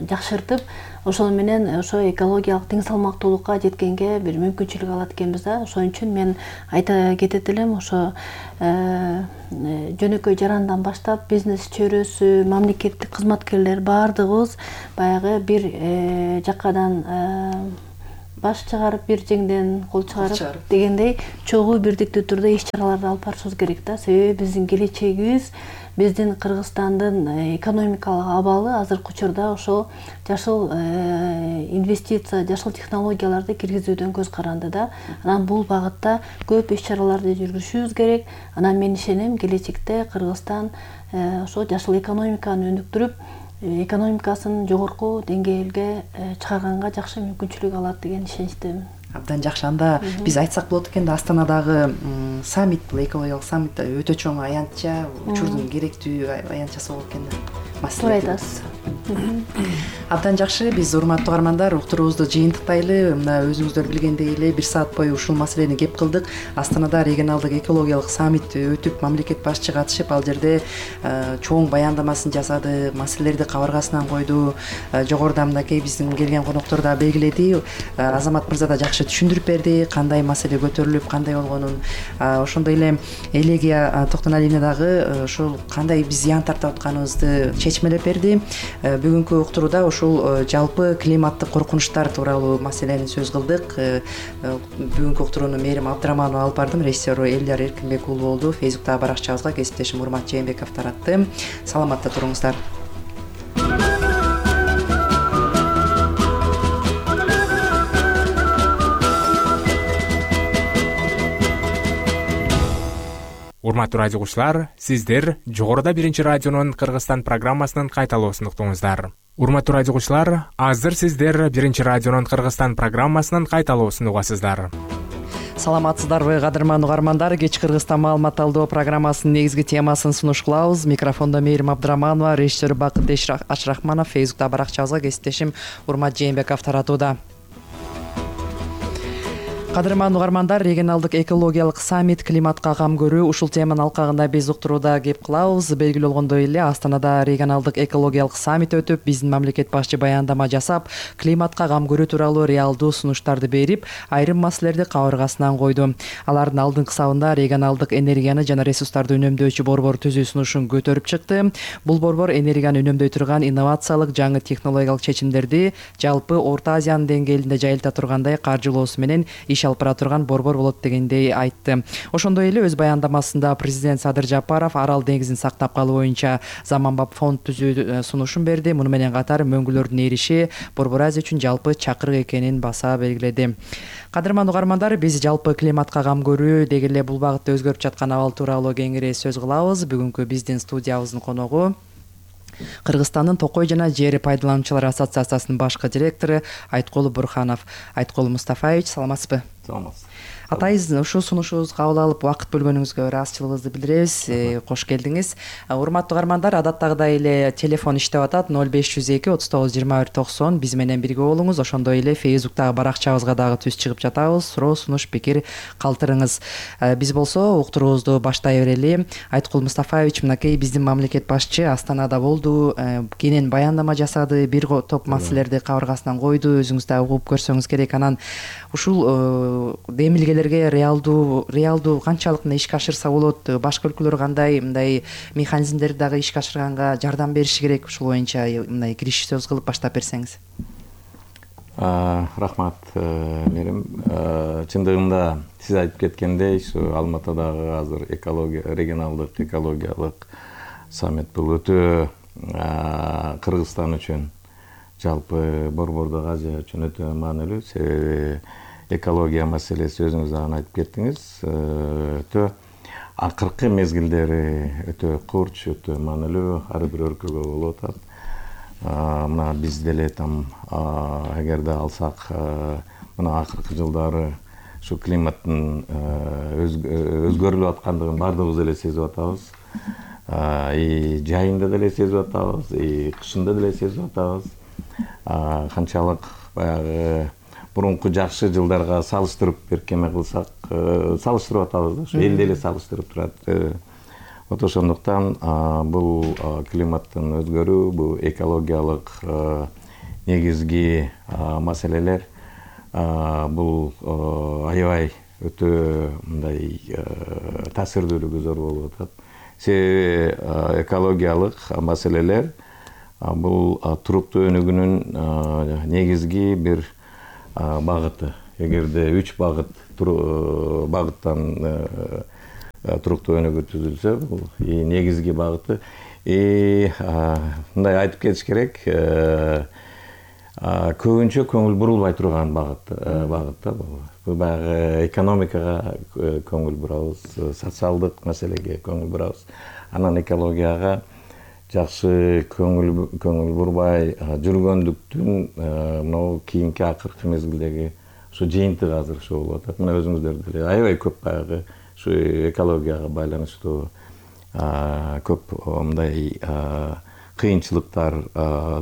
жакшыртып, ошол менен ошо экологиялык тең салмактуулукка жеткенге бир мүмкүнчүлүк алат экенбиз да. Ошон үчүн мен айта кетет элем, ошо жөнөкөй жарандан баштап бизнес чөйрөсү, мамлекеттик кызматкерлер баардыгыбыз баягы бир жакадан баш чыгарып, бир жеңден кол чыгарып дегендей чогуу бирдиктүү түрдө иш чараларды алып барышыбыз керек да. Себеби биздин келечегибиз, биздин Кыргызстандын экономикалык абалы азыркы учурда ошол жашыл инвестиция, жашыл технологияларды киргизүүдөн көз каранды да. Анан бул багытта көп иш чараларды жүргүзүшүбүз керек. Анан мен ишенем, келечекте Кыргызстан ошо жашыл экономиканы өнүктүрүп, экономикасын жогорку деңгээлге чыгарганга жакшы мүмкүнчүлүк алат деген ишеничтемин. Абдан жакшы. Анда биз айтсак болот экен да, Астанадагы саммит, экологиялык саммит өтө чоң аянтча, учурдун керектүү аянтчасы болот экен да. Туура айтасыз. Абдан жакшы. Биз, урматтуу угармандар, уктуруубузду жыйынтыктайлы. Мына өзүңүздөр билгендей эле бир саат бою ушул маселени кеп кылдык. Астанада регионалдык экологиялык саммит өтүп, мамлекет башчы катышып, ал жерде чоң баяндамасын жасады, маселелерди кабыргасынан койду. Жогоруда мынакей биздин келген коноктор да белгиледи. Азамат мырза да жакшы түшүндүрүп берди, кандай маселе көтөрүлүп, кандай болгонун. Ошондой эле Элегия Токтоналиевна дагы ошол кандай биз зыян тартып атканыбызды чечмелеп берди. Бүгүнкү уктурууда ушул жалпы климаттык коркунучтар тууралуу маселени сөз кылдык. Бүгүнкү уктурууну Мээрим Абдыраманова алып бардым, режиссеру Элдар Эркинбек уулу болду. Фейсбуктагы баракчабызга кесиптешим Урмат Жээнбеков таратты. Саламатта туруңуздар. Урматтуу радио угуучулар, сиздер жогоруда биринчи радионун Кыргызстан программасынын кайталоосун уктуңуздар. Урматтуу радио угуучулар, азыр сиздер биринчи радионун Кыргызстан программасынын кайталоосун угасыздар. Саламатсыздарбы, кадырман угармандар? Кеч Кыргызстан маалымат алдоо программасынын негизги темасын сунуш кылабыз. Микрофондо Мээрим Абдыраманова, режиссер Бакыт Ашрахманов, Фейсбукта баракчабызга кесиптешим Урмат Жээнбеков таратууда. Кадырман угармандар, регионалдык экологиялык саммит климатка кам көрүү, ушул теманын алкагында биз уктурууда кеп кылабыз. Белгилүү болгондой эле, Астанада регионалдык экологиялык саммит өтүп, биздин мамлекет башчы баяндама жасап, климатка кам көрүү тууралуу реалдуу сунуштарды берип, айрым маселелерди кабыргасынан койду. Алардын алдыңкы сабында регионалдык энергияны жана ресурстарды үнөмдөөчү борбор түзүү сунушун көтөрүп чыкты. Бул борбор энергияны үнөмдөй турган инновациялык жаңы технологиялык чечимдерди жалпы Орто Азиянын деңгээлинде жайылта тургандай каржылоосу менен иш алып бара турган борбор болот дегендей айтты. Ошондой эле өз баяндамасында президент Садыр Жапаров Арал деңизин сактап калуу боюнча заманбап фонд түзүү сунушун берди. Муну менен катар мөңгүлөрдүн эриши Борбор Азия үчүн жалпы чакырык экенин баса белгиледи. Кадырман угармандар, биз жалпы климатка кам көрүү деги эле бул багытта өзгөрүп жаткан абал тууралуу кеңири сөз кылабыз. Бүгүнкү биздин студиябыздын коногу Кыргызстандын Токой жана жер пайдалануучулар ассоциациясынын башкы директору Айткул Бурханов. Айткул Мустафаевич, саламатсызбы? Саламатсыз. Атайыз, ушул сунушубузга кабыл алып вакыт бөлгөнүңүзгө ыраазычылыгыбызды билдиребиз. Кош келдиңиз. Урматтуу угармандар, адаттагыдай эле телефон иштеп атат: ноль беш жүз эки отуз тогуз жыйырма бир токсон. Биз менен бирге болуңуз. Ошондой эле Фейсбуктагы баракчабызга дагы түз чыгып жатабыз. Суроо, сунуш, пикир калтырыңыз. Биз болсо уктуруубузду баштай берели. Айткул Мустафаевич, мынакей биздин мамлекет башчы Астанада болду, кенен баяндама жасады, бир топ маселелерди кабыргасынан койду. Өзүңүз да угуп көрсөңүз керек. Анан ушул демилгелерге реалдуу реалдуу канчалык мына ишке ашырса болот, башка өлкөлөр кандай мындай механизмдерди дагы ишке ашырганга жардам бериши керек, ушул боюнча мындай кириш сөз кылып баштап берсеңиз. Рахмат, Мээрим. Чындыгында сиз айтып кеткендей, ушу Алматыдагы азыр экология регионалдык экологиялык саммит бул өтө Кыргызстан үчүн, жалпы Борбордук Азия үчүн өтө маанилүү. Себеби экология маселеси, өзүңүз дагы айтып кеттиңиз, өтө акыркы мезгилдери өтө курч, өтө маанилүү, ар бир өлкөгө болуп атат. Мына биз деле там эгерде алсак мына акыркы жылдары ушу климаттын өзгөрүлүп аткандыгын баардыгыбыз эле сезип атабыз. И жайында деле сезип атабыз, и кышында деле сезип атабыз. Канчалык баягы мурунку жакшы жылдарга салыштырып беркеме кылсак, салыштырып атабыз да, ушу эл деле салыштырып турат. Вот ошондуктан бул климаттын өзгөрүү, бул экологиялык негизги маселелер бул аябай өтө мындай таасирдүүлүгү зор болуп атат. Себеби экологиялык маселелер бул туруктуу өнүгүүнүн негизги бир багыты. Эгерде үч багыт багыттан туруктуу өнүгүү түзүлсө, бул негизги багыты. И мындай айтып кетиш керек, көбүнчө көңүл бурулбай турган багыт багыт да бул. Бул баягы экономикага көңүл бурабыз, социалдык маселеге көңүл бурабыз. Анан экологияга жакшы көңүл көңүл бурбай жүргөндүктүн мынау кийинки акыркы мезгилдеги ушу жыйынтыгы азыр ошо болуп атат. Мына өзүңүздөр деле аябай көп баягы ушу экологияга байланыштуу көп мындай кыйынчылыктар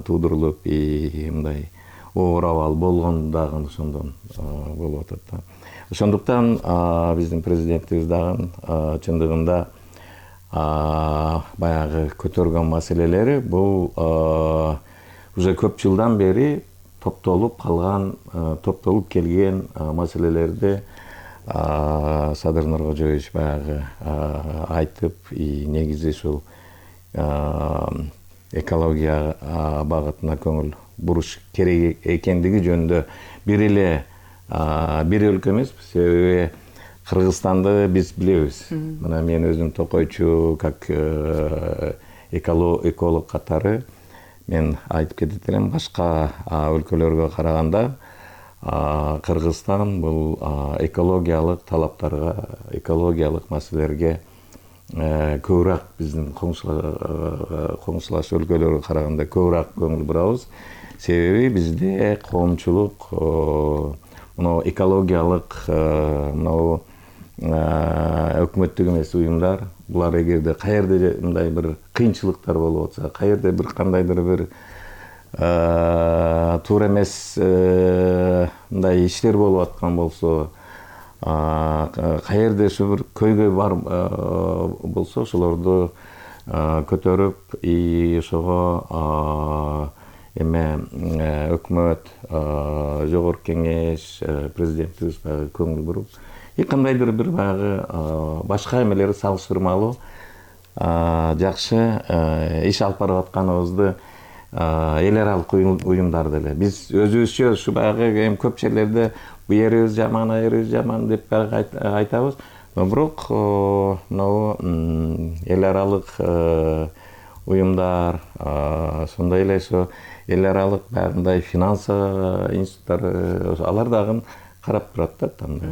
туудурулуп, мындай оор абал болгон дагы ошондон болуп атат да. Ошондуктан биздин президентибиз дагы чындыгында баягы көтөргөн маселелери бул уже көп жылдан бери топтолуп калган, топтолуп келген маселелерди Садыр Нуркожоевич баягы айтып, негизи ушул экология багытына көңүл буруш керек экендиги жөнүндө бир эле бир өлкө эмес, себеби Кыргызстанды биз билебиз. Мына мен өзүм токойчу, как эколог катары мен айтып кетет элем, башка өлкөлөргө караганда Кыргызстан бул экологиялык талаптарга, экологиялык маселелерге көбүрөөк биздин коңшулаш өлкөлөргө караганда көбүрөөк көңүл бурабыз. Себеби бизде коомчулук мына экологиялык мына өкмөттүк эмес уюмдар, булар эгерде каерде мындай бир кыйынчылыктар болуп атса, каерде бир кандайдыр бир туура эмес мындай иштер болуп аткан болсо, каерде ушу бир көйгөй бар болсо, ошолорду көтөрүп, и ошого эме өкмөт, жогорку кеңеш, президентибиз баягы көңүл буруп, и кандайдыр бир баягы башка эмелери салыштырмалуу жакшы иш алып барып атканыбызды эл аралык уюмдар деле биз өзүбүзчө ушу баягы эми көп жерлерде бу жерибиз жаман, а жерибиз жаман деп баягы айтабыз. Бирок мынау эл аралык уюмдар, сондай эле ошо эл аралык баягындай финансы институттары, алар дагы карап турат да тандаа.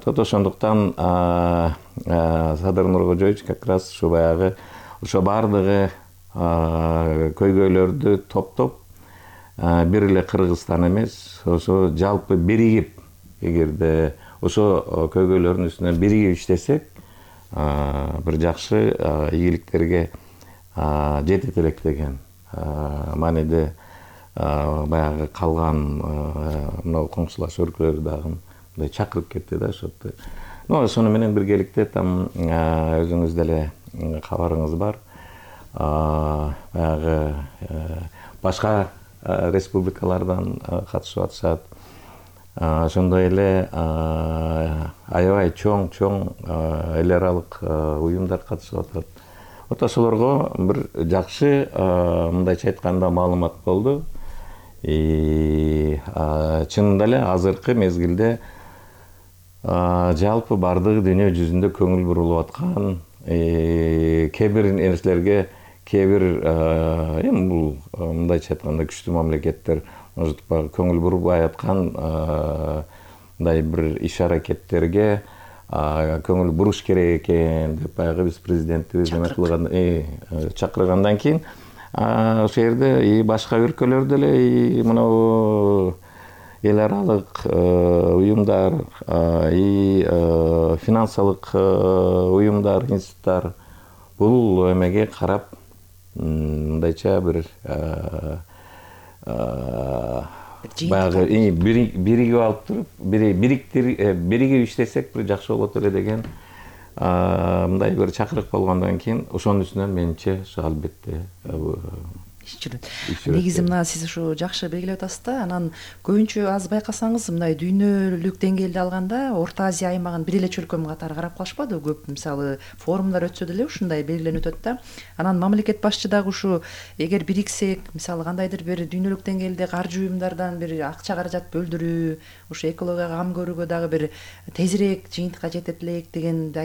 Тот ошондуктан Садыр Нуркожоевич как раз ушу баягы ошо баардыгы көйгөйлөрдү топтоп, бир эле Кыргызстан эмес, ошо жалпы биригип, эгерде ошо көйгөйлөрдүн үстүнөн биригип иштесек, бир жакшы ийгиликтерге жетет элек деген мааниде баягы калган мына коңшулаш өлкөлөр дагы мындай чакырып кетти да ошотто. Ну, ошону менен биргеликте там өзүңүз деле кабарыңыз бар. Баягы башка республикалардан катышып атышат. Ошондой эле аябай чоң-чоң эл аралык уюмдар катышып атат. Вот ошолорго бир жакшы мындайча айтканда маалымат болду. И чынында эле азыркы мезгилде жалпы бардык дүйнө жүзүндө көңүл бурулуп аткан кээ бир нерселерге, кээ бир эми бул мындайча айтканда күчтүү мамлекеттер может көңүл бурбай аткан мындай бир иш аракеттерге көңүл буруш керек экен деп баягы биз президентибиз эме кылган, чакыргандан кийин ошол жерде башка өлкөлөр деле мына эл аралык уюмдар и финансылык уюмдар, институттар бул эмеге карап мындайча бир баягы биригип алып туруп биригип иштесек бир жакшы болот эле деген мындай бир чакырык болгондон кийин ошонун үстүнөн менимче албетте иш жүрөт. Негизи мына сиз ушу жакшы белгилеп атасыз да. Анан көбүнчө аз байкасаңыз мындай дүйнөлүк деңгээлде алганда Орто Азия аймагын бир эле чөлкөм катары карап калышпады. Көп мисалы форумдар өтсө деле ушундай белгиленип өтөт да. Анан мамлекет башчы дагы ушу эгер бириксек, мисалы кандайдыр бир дүйнөлүк деңгээлде каржы уюмдардан бир акча каражат бөлдүрүү, ушу экологияга кам көрүүгө дагы бир тезирээк жыйынтыкка жетет элек дегенди